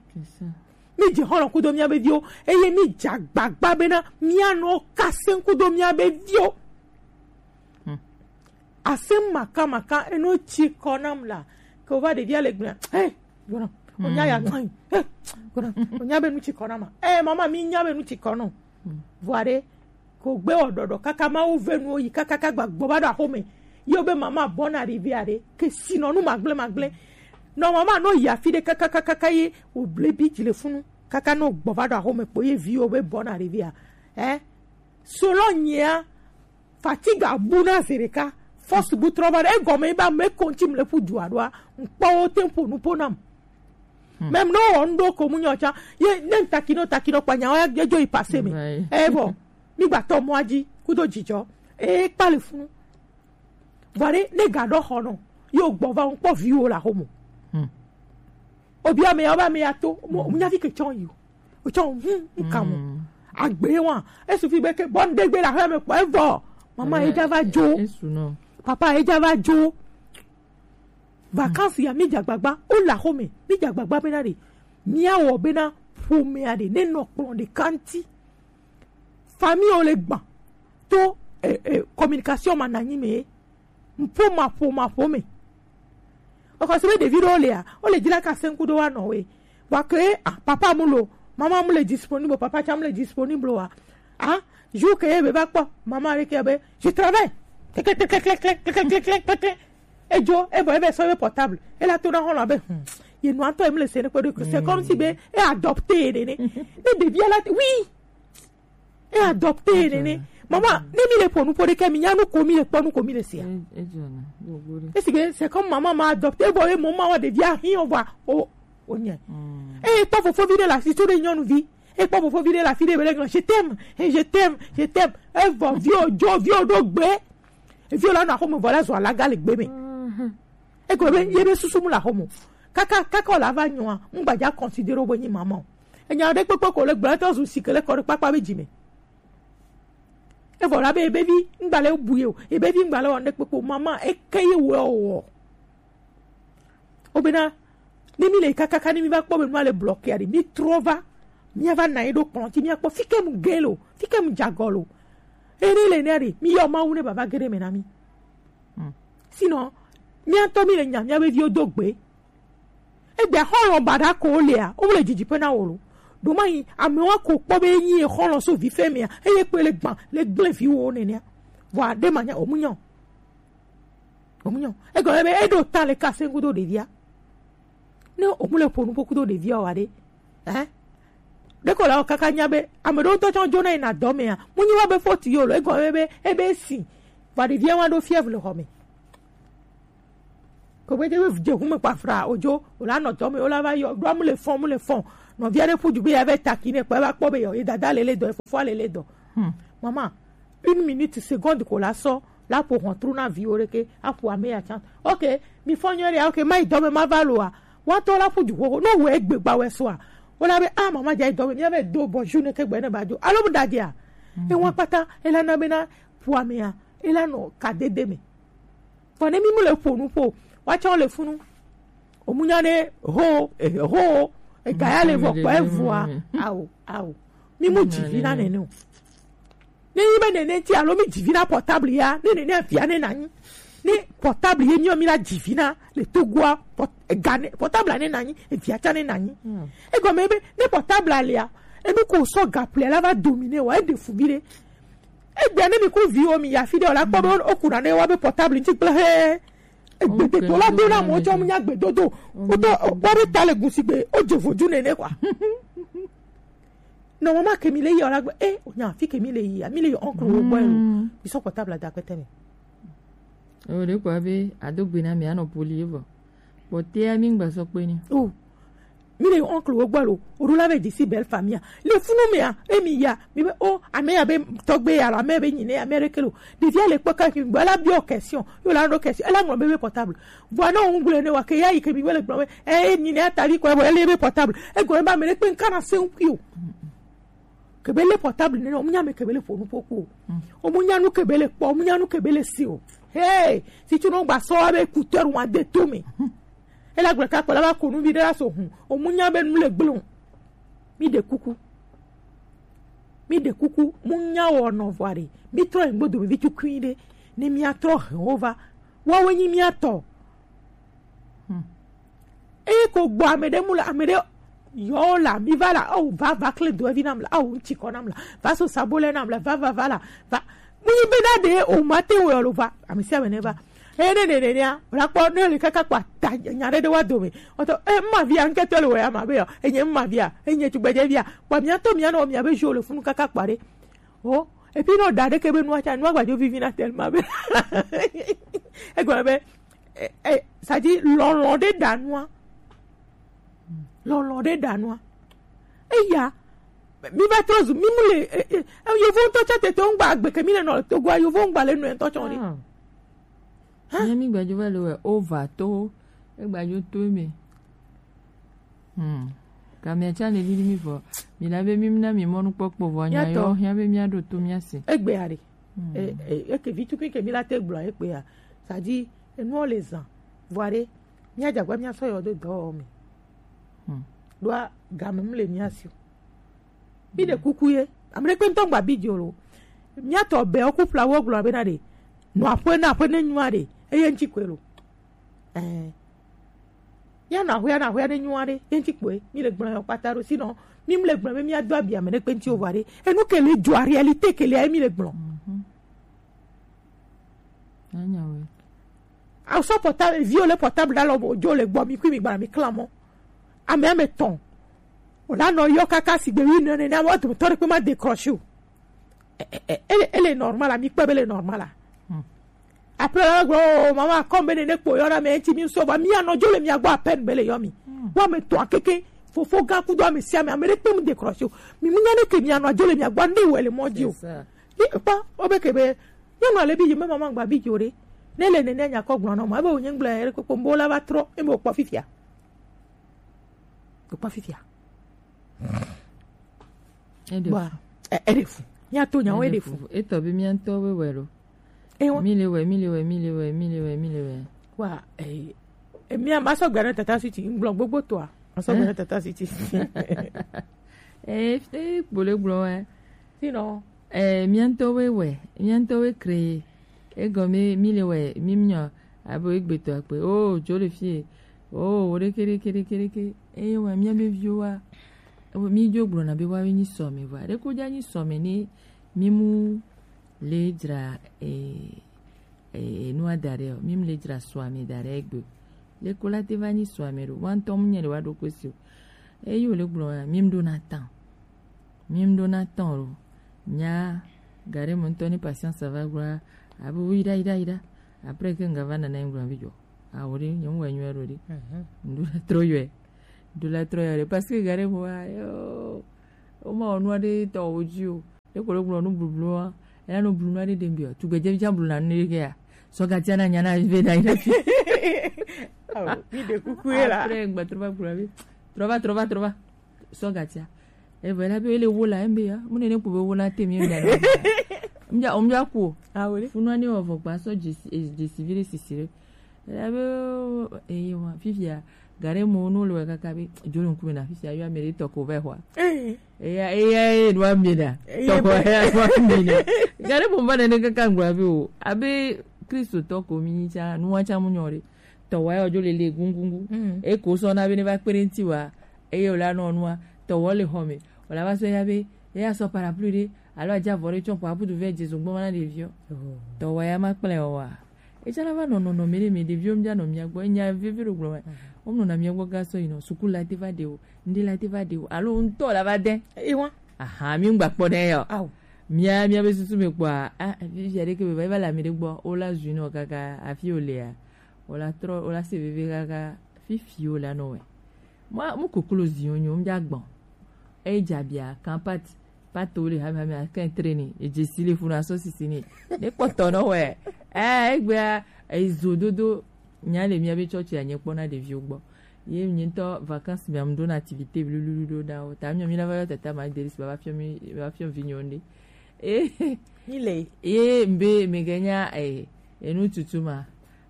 Mi dze xɔlɔ kudo miabe viwo, eye mi dze agbagba bena mianɔ kasem kudo miabe viwo. Asem makamaka eno tsi kɔ nam la, ke wova ɖevia le gblɔa, hey, gbɔna, onya ya gbɔn, hey, gbɔna, onya be nu tsi kɔ nama, eh, mama, mi nya be nu tsi kɔ nɔ. Vɔa ɖe, ko gbe wɔ ɖɔɖɔ kaka Mawu ve nuwo yi kaka ka gba gbɔ va ɖo axome. Ye wo be mama bɔna ɖevia ɖe ke sinɔ nu magble magble. Nɔ mama nɔ yi afi ɖe kaka kaka ka ye wo ble bi dzi le funu kaka nɔ gbɔ va ɖo axome kpo ye viwo be bɔna ɖevia. Eh? Solo nyea fatigue bu na zi ɖeka. Force bu trɔ va ɖe egɔme yi be ame ko ŋuti mle ƒu dua ɖoa, ŋkpɔwo te ƒo nu ƒo nam. Même ne wɔ ŋɖo ko mu nyɔ tsa, ye ne ŋtakino takino kpa nyawo ya dzo yi passé me. Eye bɔ, mi gba tɔ mɔa dzi kudo dzidzɔ. Eye kpa le funu. Vɔ ɖe ne ga ɖɔ xɔ nɔ, yo gbɔ va ŋkpɔ viwo la xomo. Obi ame ya, oba ame ya to, mo, mo nya fi ke tsɔ yi o. O tsɔ, hmm, nka mo. Agbe wa, esu fi be ke, bɔ ŋɖe gbe la xɔ me kpɔ, evɔ. Mama, eja va dzo. Papa, eja va dzo. Vacances ya mi dze agbagba, wo le axome, mi dze agbagba bena ɖe, miawɔ bena ƒomea ɖe ne nɔ kplɔ̃ ɖeka ŋuti. Famille wo le gba to, eh, eh, communication ma nanyi me, ƒo ma ƒo ma ƒo me. Ekɔ se be ɖevi ɖewo lea, wo le dzra ka se ŋku ɖo wa nɔ we. Vɔ ke, ah, papa mu lo, mama mu le disponible, papa tsa mu le disponible wa. Ah, jour ke ye be va kpɔ mama ɖe ke be, je travaille. Klek, klek, klek. Edzo, ebɔ ebe sɔ be portable. Ela to na xɔlɔ be, hmm, ye nua ŋutɔ ye mu le se ne kpe ɖo. C'est comme si be e adopté ye nene. Ne ɖevia la, oui. E adopté ye nene. Mama, ne mi le ƒo nu ƒo ɖe ke, mi nya nu ko mi le kpɔ, nu ko mi le sia. Esi ke c'est comme maman m'a adopté, bon, e mo ma wa ɖevia hi o va o, o nye. E kpɔ fofovi ɖe la si to ɖe nyɔnuvi. E kpɔ fofovi ɖe la fi ɖe be le gblɔ, je t'aime, eh, je t'aime, je t'aime. Evɔ vio dzo, vio ɖo gbe. Vio la nɔ axome vɔ la zɔ alaga le gbe me. Eko be ye be susu mu le axome. Kaka, kaka la va nyɔa, ŋgbadza considérer wo be nyi maman o. Enya ɖe kpekpe ko le gblɔ etɔ zu si ke le kɔ ɖe kpakpa be dzi me. Evɔ la be ebe vi ŋgba le bu ye o, ebe vi ŋgba le wɔ ɖe kpekpe o, maman eke ye wɔ wɔ. Wobena, ne mi le kakaka, ne mi va kpɔ be nua le bloqué aɖe, mi trɔ va, mia va na ye ɖo kplɔ̃ dzi, mia kpɔ fike mu ge lo, fike mu dze agɔ lo. Eye ne le nea ɖe, mi yɔ Mawu ne baba ge ɖe me na mi. Sinon, mia ŋutɔ mi le nya mia be viwo do gbe. Egbe xɔlɔ baɖa ko lea, wo le didi pe na wo lo. Ɖo ma yi, amewa ko kpɔ be nyi xɔlɔ so vi fɛ mea, eye kpe le gban, le gblẽ viwo nenea. Vɔ aɖe ma nya, o mu nya o. Omunyo. Ego ebe edo ta le kase kudo ɖevia. Ne omu le ƒo nu ƒo kudo ɖevia wa ɖe. Eh? Ɖeko la kaka nya be ame ɖewo ŋutɔ tsɔ dzona yina dɔ mea. Mu nyi wa be foti yo lo. Ego ebe ebe si. Va ɖevia wa ɖo fièvre le xɔ me. Ko be de dze hu me kpafra odzo. O la nɔ dɔ me o la va yɔ ɖo amu le fɔn mu le fɔn. Nɔvia ɖe ƒu du be ya ve taki ne kpɛ va kpɔ be yɔ ye dada le le dɔ ye fofoa le le dɔ. Hmm. Mama, une minute, seconde ko la sɔ la ƒo xɔtru na viwo ɖeke aƒo ame ya tsã. Ok, mi fɔ nyuie ɖe, ok, ma yi dɔme ma va loa. Woatɔ la ƒu du xoxo, no wɔ egbe gba wɛ sɔa. Wona be ah mama dza yi dɔme, mia be do bonjour ne ke gbe ne ba dzo. Alo mu da dia. E wa kpata, e la na be na ƒu amea, e la nɔ ka dede me. Vɔ ne mi mu le ƒo nu ƒo, woatsɔ le funu. Omunya ne ho, eh, ho, ega ya le vɔ kpɔ evua. Ao, ao. Mi mu dzi vi na nene o. Ne yi be nene ti alo mi dzi vi na portable ya, ne nene via ne nanyi. Ne portable ye mi o mi la dzi vi na le togoa port-, ega ne portable ne nanyi, evia tsa ne nanyi. Egɔme be ne portable alia, enu ko sɔ gaple la va dominer wa, e de fu bi ɖe. Egbea ne mi ku viwo mi ya fi ɖe o la kpɔ be o kuna ne wa be portable ŋuti kple he. Egbededo la do na mo tsɔ mu nya gbedodo. O to o kpɔ ɖe ta le gusi gbe o dze vodu nene kwa. Nɔ mama ke mi le yi o la gbe e o nya fi ke mi le yi a mi le yi oncle wo gbɔ e lo. Mi sɔ portable da kpɛtɛ me. O de kwa be ado gbe na mi anɔ poli evɔ. Kpɔtɛa mi ŋgba sɔ kpe ni. O mi le oncle wo gbɔ lo, o ɖo la ve dzi si belle famille. Le funu mea, e mi ya, mi be o ame ya be tɔgbe ya lo, ame be nyine ya, ame ɖeke lo. Ɖevia le kpɔ ka mi gbɔ la biɔ question, yo la ɖo question, e la ŋlɔ be be portable. Vɔ ne o ŋgble ne wa ke ya yi ke mi be le gblɔ be e nyine ya ta vi kɔ e le be portable. E gɔ e ba me ɖe kpe ŋka na se ŋkui o. Kebe le portable ne o munya me kebe le ƒo nu ƒo ku o. O munya nu kebe le kpɔ, o munya nu kebe le si o. Hey, si tu no gba sɔ be écouteur wa de to me. E la gblɔ ka kpɔ la va ko nu vi ɖe la so hun. O mu nya be nu le gblɔ. Mi ɖe kuku. Mi ɖe kuku. Mu nya wɔ nɔ vɔ ɖe. Mi trɔ yin gbodo vi tukui ɖe. Ne mi atrɔ hɛn wo va. Wa wo nyi mi atɔ. Eye ko gbɔ ame ɖe mu le ame ɖe yɔ la mi va la awu va va kle do evi nam la awu ŋtsi kɔ nam la va so sabo lɛ nam la va va va la va. Mu yi be na ɖe o ma te wɔ lo va ame sia ame ne va. Eye ne ne ne nea, o la kpɔ ne le kaka kpa ta nya ɖe ɖe wa dome. Ɔtɔ e ma via ŋkɛtɔ le wɔ ya ma be yɔ enye ma via enye tugbedze via kpa mia tɔ mia nɔ mia be jo le funu kaka kpa ɖe. O epi nɔ da ɖe ke be nua tsa nua gbadzo vivi na tellement be egɔme be e e sadi lɔlɔ ɖe da nua. Lɔlɔ ɖe da nua. Eya mi va trɔ zu mi mu le e e e, yovo ŋutɔ tsa tete ŋgba agbe ke mi le nɔ togoa yovo ŋgba le nɔe ŋutɔ tsɔ ɖi. Hã? Nye mi gbadzo va le wɛ o va to egbadzo to me. Hmm. Kamia tsa le lili mi vɔ mi la be mi na mi mɔnu kpɔkpɔ vɔ nya yɔ hia be mia ɖo to mia se. Egbe ya ɖe. Hmm. E e eke vi tukui ke mi la te gblɔ egbe ya. Sadi enuɔ le zan. Vɔ ɖe mia dzagba mia sɔ yɔ do dɔ me. Hmm. Ɖoa game mu le mia si o. Mi ɖe kuku ye. Ame ɖe kpe ŋutɔ ŋgba bi dzo lo. Mia tɔ bɛ wo ku ƒla wo gblɔ be na ɖe. Nɔ aƒe na aƒe ne nyua ɖe. Eye ŋtsi koe lo. Ɛɛ. Mia nɔ aƒea na aƒea ne nyua ɖe. Ye ŋtsi koe. Mi le gblɔ yɔ kpata ɖo. Sinon, mi mu le gblɔ be mia do abi ame ɖe kpe ŋtsi o va ɖe. Enu ke le dzo a réalité ke le ayi mi le gblɔ. Mhm. Anya we. Awu sɔ portable, viwo le portable ɖa lɔ bo dzo le gbɔ mi kui mi gbana mi kla mɔ. Ame ame tɔn. O la nɔ yɔ kaka sigbe wi nene na wa dometɔ ɖe kpe ma décroché o. E e e ele normal a mi kpe be le normal a. Hmm. Après la gblɔ o mama kɔm be nene kpo yɔ na me ŋtsi mi sɔ va mi anɔ dzo le mia gbɔ à peine be le yɔ mi. Hmm. Wa me tɔn keke fofo gã kudo ame sia ame ame ɖe kpe mu décroché o. Mi mu nya ne ke mi anɔ dzo le mia gbɔ ne wɔ le mɔ dzi o. C'est ça. Yi kpɔ o be ke be Nyɔnu ale bi yi me mama gba bi dzo ɖe. Ne le nene nya kɔ gblɔ nɔ ma ebe wonye gblɔ ere kpekpe mbo la va trɔ ebe wokpɔ fifia. Wokpɔ fifia. Eɖe fu. Bua, e- eɖe fu. Mia to nyawo eɖe fu. Etɔ bi mia ŋutɔ be wɛ lo. Ewa. Mi le wɛ, mi le wɛ, mi le wɛ, mi le wɛ, mi le wɛ. Wa, eh, eh, mia ma sɔ gbe na tata siti, ngblɔ gbogbo toa. Ma sɔ gbe na tata siti. Eh, eh, kpole gblɔ wɛ. Sinon, eh, mia ŋutɔwoe wɛ, mia ŋutɔwoe créé. Egɔme mi le wɛ, mi miɔ, abo egbetɔ akpe. Oh, dzo le fie. Oh, wo ɖeke, ɖeke, ɖeke, ɖeke. Eye wɛ mia be viwo wa, mi dzo gblɔna be woawoe nyi sɔme vɔa. Ɖeko dza nyi sɔme ne mi mu le dzra, eh, e, e, nua da ɖe o, mi mu le dzra sua mi da ɖe egbe. Le ko la te va nyi sua mi ɖo, wa ŋutɔ mu nye le wa ɖo ko si o. Eyi o le gblɔ ya, mi mu ɖo na tan. Mi mu ɖo na tan o. Nya, gare mo ŋutɔ ni patience va gblɔ, abe wi da, yi da, yi da. Après que nga va nana gblɔ bi jɔ. A o de, nyɔnu wa nyɔ ɖo de. Mhm. Ŋɖo la trɔ yɔe. Ŋɖo la trɔ yɔe de. Parce que gare mo wa, yo, o ma o nua de tɔ o dzi o. Ye ko le gblɔ nu blublu wa. Ela nu blublu aɖe ɖe ŋgbe o. Tugbedze fia bluna nu ɖe ya. Sɔ gatia na nya na ve na yi na fi. Awo, mi ɖe kuku ye la. Après, ŋgbe trɔ va gblɔ be, trɔ va, trɔ va, trɔ va. Sɔ gatia. Evɔ ela be ele wo la, embe ya. Mu ne ne kpo be wo la te mi embe ya. Mja, omja ko. Awo le. Funu ani wɔ vɔ gba sɔ dzesi, e, dzesi vi ɖe sisi ɖe. Ela be, eye wa, fifia, gare mo no le kaka be, jolo ŋkume na fifia, yo ame ɖe tɔ ko va xɔa. Eh. Eya, eya, ye nua mi na. Eya tɔ ko be ya nua mi na. Gare mo ba ne kaka ŋgɔ be o, abe Kristo tɔ ko mi nyi tsa, nua tsa mu nyɔ ɖe. Tɔ wa yo jo le le gungungu. Mm. E ko sɔ na be ne va kpere ŋti wa, eye o la nɔ nua, tɔ wɔ le xɔ me. O la va sɔ ya be, eya sɔ parapluie ɖe, alo adza vɔ ɖe tsɔ kɔ abudu vɛ dze zogbo ma na ɖeviɔ. Oh. Tɔ wa ya ma kple o wa. Etsã la va nɔ nɔnɔme ɖe me, ɖeviwo mía nɔ mía gbɔ. Enya vevi ɖo gblɔ me. Mhm. Wonɔna mía gbɔ gã sɔ yinɔ. Suku la te va ɖe o, ŋɖe la te va ɖe o, alo ŋutɔ la va de. Ewa. Aha, mi ŋgba kpɔ ɖe ya o. Awo. Mía, mía be susu me kpɔa, a, vivia ɖe ke be va, va le ame ɖe gbɔ, wo la zui nɔ kaka, afi wo lea, wo la trɔ, wo la se veve kaka, fifi wo la nɔ wɛ. Mwa, mu koklo zi yo nyo, mja gbɔn. E dza bia, kan pat, pat to le hame hame, akan treni, e dze si le funu asɔ sisi ni. Ne kpɔtɔ nɔ wɛ. Eh, egbea, e zo dodo, nya le mía be tsɔtsi anye kpɔ na ɖeviwo gbɔ. Ye mi ŋutɔ vacances mea, mi ɖona activité blululu ɖo na wo. Ta mi, mi la va yɔ tata ma Delis, va fiɔ mi, va fiɔ vi nyo nde. Eh, mi le. Ye mbe, me ganya, eh, enu tutu ma.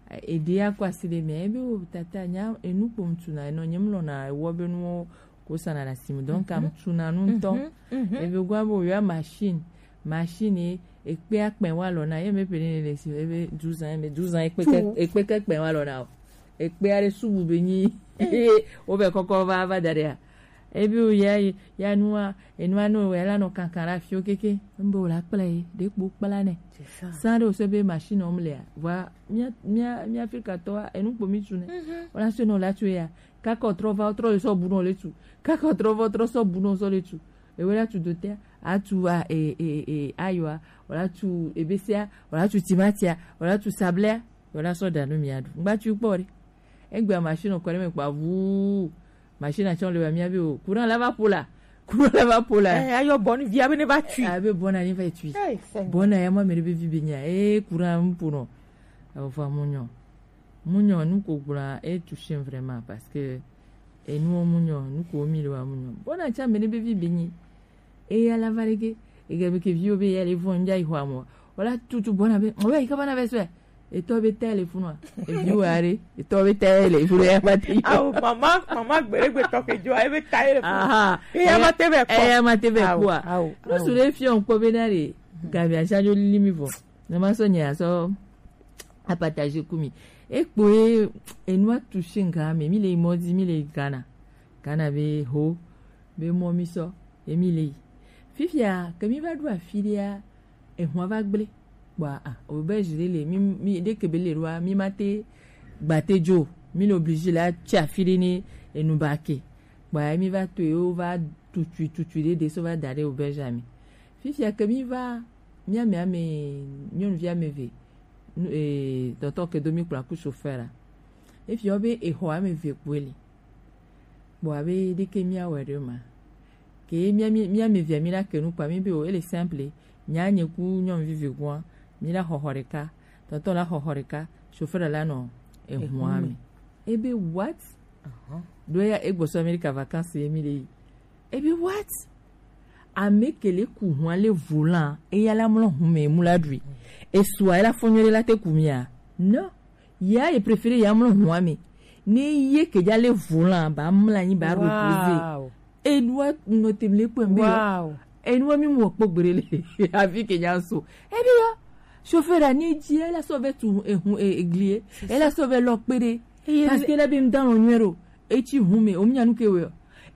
Eɖe akɔ asi ɖe mea, ebe wo tata nya enu kpo ŋtuna, enɔ nye mlɔna ewɔ be nuwo ko sana le asi me. Donc, mhm, am tuna nu ŋutɔ. Mhm, mhm. Ebe gwa bo yɔ machine, machine ye, ekpe akpɛ wa lɔ na, ye me pe ne le si, ebe douze ans, ebe douze ans, ekpe ke, tu, ekpe ke kpɛ wa lɔ na o. Ekpe aɖe subu be nyi, eh, wo be kɔkɔ va, va da ɖe a. Ebi wo ya, ya nua, enua no, ya la nɔ kankan ɖe afiwo keke. Mbe wo la kpla ye, ɖe kpo kpla nɛ. C'est ça. Sans ɖe wo se be machine wo mlea. Vɔa, mía, mía, mía Afrikatɔa, enu kpo mi tu nɛ. Mhm. Wo la se nɔ la tu ya. Kaka wo trɔ va, wo trɔ le sɔ bu nɔ le tu. Kaka wo trɔ va, wo trɔ sɔ bu nɔ sɔ le tu. Ewe la tu dotea, a tu a, e, e, e, ayoa, wo la tu ebesea, wo la tu timatia, wo la tu sablea, wo la sɔ da nu mia ɖu. Ŋgba tu kpɔ ɖe. Egbea machine kɔ ɖe me kpa vuu. Machine atsɔ le wa mia be o. Courant la va po la. Courant la va po la. Eh, ayɔ bɔn via be ne va tui. Abe bɔn ani va tui. Hey, Seigneur. Bɔn ya mo mere be vi be nya. Eh, courant mpo no. Awo fa munyo. Munyo nu ko gbla e touché vraiment parce que e nu munyo nu ko mi le wa munyo. Bɔn acha mere be vi be nyi. Eya la va ɖe ge, ega be ke viwo be ya le vɔn ja yi xɔa mɔ. Wala tutu bɔna be, o ya yi kaba na be sɔe. Etɔ be ta le funua. Eviwo are, etɔ be ta le funua ya ma te yi. Awo, mama, mama gbere gbe tɔ ke jo, ebe ta le funua. Aha. Eya ma te be kpɔ. Eya ma te be kpɔ. Awo, awo. Nusu le fiɔ kpɔ be na le. Gabi asajo lili mi vɔ. Na ma sɔ nye asɔ apartager ku mi. Ekpo e, enua touché nga me, mi le yi mɔdi, mi le yi Ghana. Ghana be ho, be mɔ mi sɔ, ye mi le yi. Fifia, ke mi va ɖo afi ɖea, ehua va gble. Kpɔa, a, auberge ɖe le, mi, mi, ɖe ke be le ɖoa, mi ma te gba te dzo. Mi le obligé la tsi afi ɖe ne enu ba ke. Kpɔa, mi va to ye, wo va tutui, tutui ɖe ɖe so va da ɖe auberge me. Fifia ke mi va, mi ame ame, nyɔnuvi ame eve, nu, e, tɔtɔ ke do mi kpla ku chauffeur la. Efiɔ be exɔ ame eve kpoe li. Kpɔ abe ɖeke míawɔe ɖe ma. Ke mía, mía, mía ame evea míla ke nu kpa mí be o, ele simple. Nya nye ku nyɔnuvi vegɔa, míla xɔxɔ ɖeka. Tɔntɔn la xɔxɔ ɖeka, chauffeur la nɔ ehua me. Ebe what? Ɖo ya egbɔsɔ Amerika vacances ye mí le yi. Ebe what? Ame ke le ku hua le volan, eya la mlɔ hume mu la ɖui. Esua ela fɔnyɔ ɖe la te ku mia? Non. Ya ye préféré ya mlɔ hua me. Ne ye ke ja le volan ba mla nyi ba reposer. Enua nɔ te mle kpɛ mbe. Enua mi mu kpɔ gbere le. Afi ke ja so. Ebi yo. Chauffeur a ni ji ela so ve tu ehun eglie. Ela so ve lɔ kpere. Parce que la bi mdan onwero. Etsi hume, o mia nu ke we.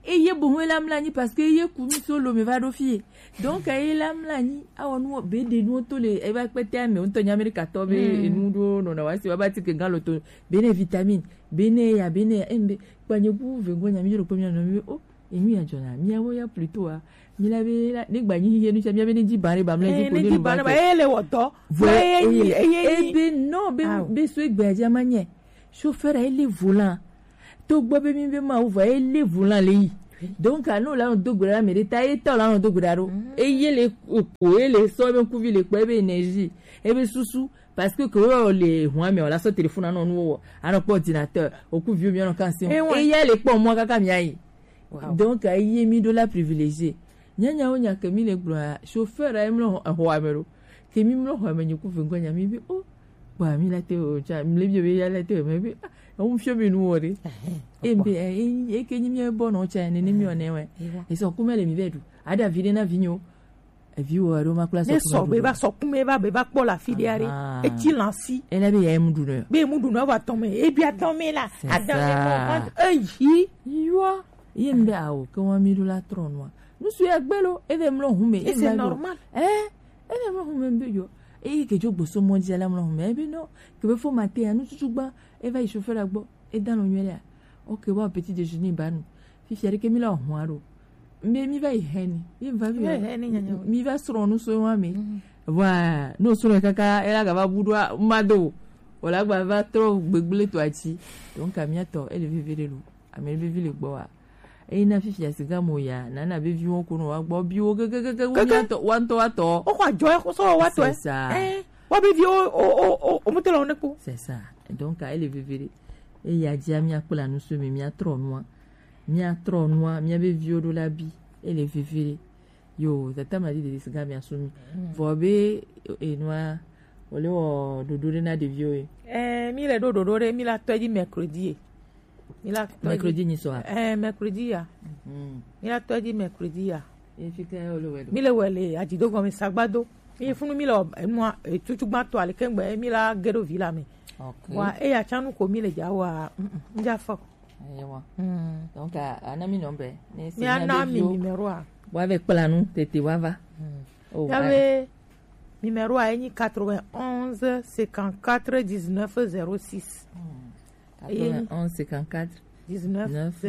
Eye bohun ela mla anyi parce que eye ku mi so lo me va ɖo fie. Donc eye la mla anyi awɔ nu be de nu to le eva kpete ame ŋutɔ nya Amerika tɔ be enu ɖo nɔna wa si wa ba ti ke gan lo to be ne vitamine be ne ya be ne ya embe kpanye ku ve go nya mi ɖo kpɔ mi nɔ mi be o enu ya jɔna mi awo ya plutôt a mi la be la ne gba nyi ye nu cha mi be ne ji bare ba mla ji ko ne ji bare ba ele wɔ dɔ. Vɔ eye eye ebe no be be so egbe aja ma nye. Chauffeur a ele volant. To gbɔ be mi be ma wo vɔ ele volant le yi. Donc anu la no do gbera me de ta e ta la no do gbera ro. Eye le ko ele so be kuvi le ko ebe énergie. Ebe susu parce que ko le hwa me o la so téléphone no no wo. Ano po ordinateur, o kuvi o mi no kan si. Eye le po mo kaka mi ayi. Donc eye mi do la privilégié. Nyanyawo nya ke mi le gblɔa chauffeur a emlɔ xɔa me ɖo ke mi mlɔ xɔa me nyi ku vengɔ nya mi bi o gba mi la te o cha mi le bi be ya la te o me bi ah ewu fio mi nu wo de e be e e ke nyi mi e bɔ no cha ne ne mi o ne we e so ku me le mi be du ada vi de na vi nyo e vi wo ro ma kula so ne ku so me be du ba so ku me ba be ba kpɔ la fi de are e ti lan si e na be ya mu du no be mu du no ba tɔn me e bi a tɔn me la adan me mo kan e yi yo ye mi be awo ke wa mi du la trɔ no Nusu ya gbe lo, eve mlɔ hume. Et c'est normal. Eh, eve mlɔ hume mbe yo. Eye ke jo gboso mɔ dzi la mlɔ hume. Ebe no, ke be fo mate ya nututu gba, eva yi chauffeur la gbɔ, e dan lo nyuie ya. Ok, wa petit déjeuner ba nu. Fifi ari ke mi la hwa ro. Mbe mi va yi heni. Mi va mi. Mi va srɔ nu so wa mi. Wa, no so kaka ela ga va budu ma do. Wala gba va trɔ gbegble to ati. Donc amia to, ele vivere lo. Ame be vi le gbɔ wa. Eyi na fifia siga mo ya na na be viwo ko no wa gbɔ biwo gegegege wo mi atɔ wa ŋutɔ wa tɔ. O kɔ adzɔ ya ko sɔ wa tɔ. C'est ça. Eh, wa be viwo o o o o mo te lɔ ne ko. C'est ça. Donc ele vevere. Eya dzi mi akpla nu so mi mi atrɔ nua. Mi atrɔ nua mi be viwo do la bi. Ele vevere. Yo tata ma di de siga mi asumi. Vɔ be enua ole wɔ dodo de na de viwo. Eh, mi le do dodo de mi la tɔ di mercredi. Mi la tɔ di- Mercredi nyi sɔ a? Eh, mercredi ya. Mhm. Mi la tɔ di mercredi ya. Ye fi ke o le wɛ do? Mi le wɛ le adzido gɔme sagbado. Mi funu mi le enua tutu gba to ale kengbe mi la gedo vi la me. Ok. Wa e ya chanu ko mi le ja wa. Mm, mm, nja fɔ. Ewa. Mm. Donc a ana mi nɔmbe. Ne si Mi ana mi numéro a. Wa ve kpla nu tete wa va. Mm. Oh, ya ve numéro a enyi quatre-vingt-onze cinquante-quatre dix-neuf zéro six. Hmm. Quatre-vingt-onze cinquante-quatre dix-neuf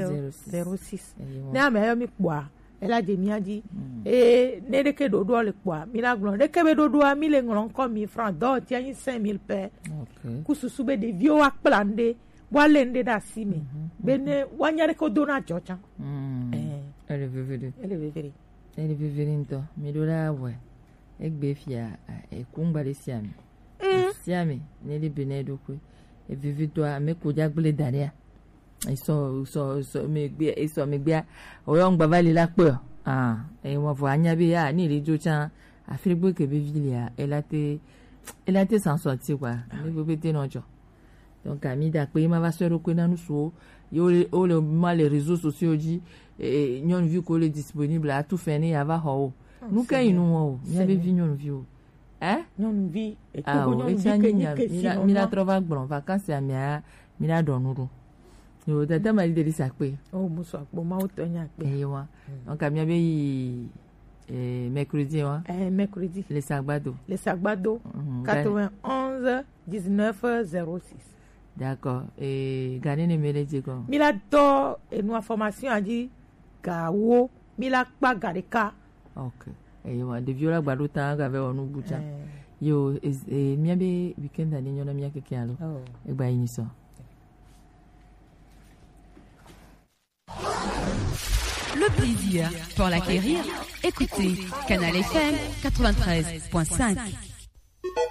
zéro six. Ne ame yɔ mi kpɔa, ela dze mia dzi. Hmm. Eye ne ɖeke ɖoɖoa le kpɔa, mi la gblɔ. Ɖeke be ɖoɖoa, mi le ŋlɔ ŋkɔ mi franc, dɔ tia nyi cinq mille pɛ. Ok. Ku susu be ɖeviwo wa kpla ŋɖe, wa le ŋɖe ɖe asi me. Mhm. Be ne wa nya ɖeke do na dzɔ tsa. Hmm. Eh. Ele veve ɖe. Ele veve ɖe. Ele veve ɖe ŋutɔ. Mi ɖo la wɛ. Egbe fia, a, eku ŋgba ɖe sia mi. Mm. Sia mi, ne li be ne ɖo kue. Evivi tɔ, ame ko dza gble da ɖea. Esɔ, esɔ, esɔ, me gbe, esɔ, me gbea. Oyɔ ŋgba va li la kpe. Ah, e mo vo anya be ya, ni li dzo tsa. Afri gbe ke be vi lia, ela te, ela te san sɔ ti kwa. Ah. Mi bo be te no dzo. Donc, ami da kpe ma va sɔ ɖo kue na nu suwo. Yo le, o le ma le réseaux sociaux dzi. E, e, nyɔnuvi ko le disponible, atu fɛ ne ya va xɔ o. Oh, nu ke yi nu wɔn o, mia be vi nyɔnuvi o. Hein? Nyɔnuvi, e to ko nyɔnuvi ke nyi ke si nɔ. Mi la trɔ va gblɔ vacances amia, mi la ɖɔ nu ɖo. Yo, tata ma di de sa kpe. Oh, musu akpo, ma o tɔ nya kpe. Eyi wa. Donc, amia be yi, eh, mercredi wa. Eh, mercredi. Le Sagbado. Le Sagbado, mhm, quatre-vingt-onze dix-neuf zéro six. D'accord. Et gane ne mele dze ko. Mi la do e nu information a dzi gawo. Mi la kpa ga ɖeka. Ok. Eyi wa ɖeviwo la gba ɖo ta ga ve wɔ nu bu tsa. Eh. Yo, e, e, mia be weekend ani nyɔ na mia keke alo. Oh. Egba yi nyi sɔ. Le plaisir pour l'acquérir. Écoutez Canal F M quatre-vingt-treize point cinq.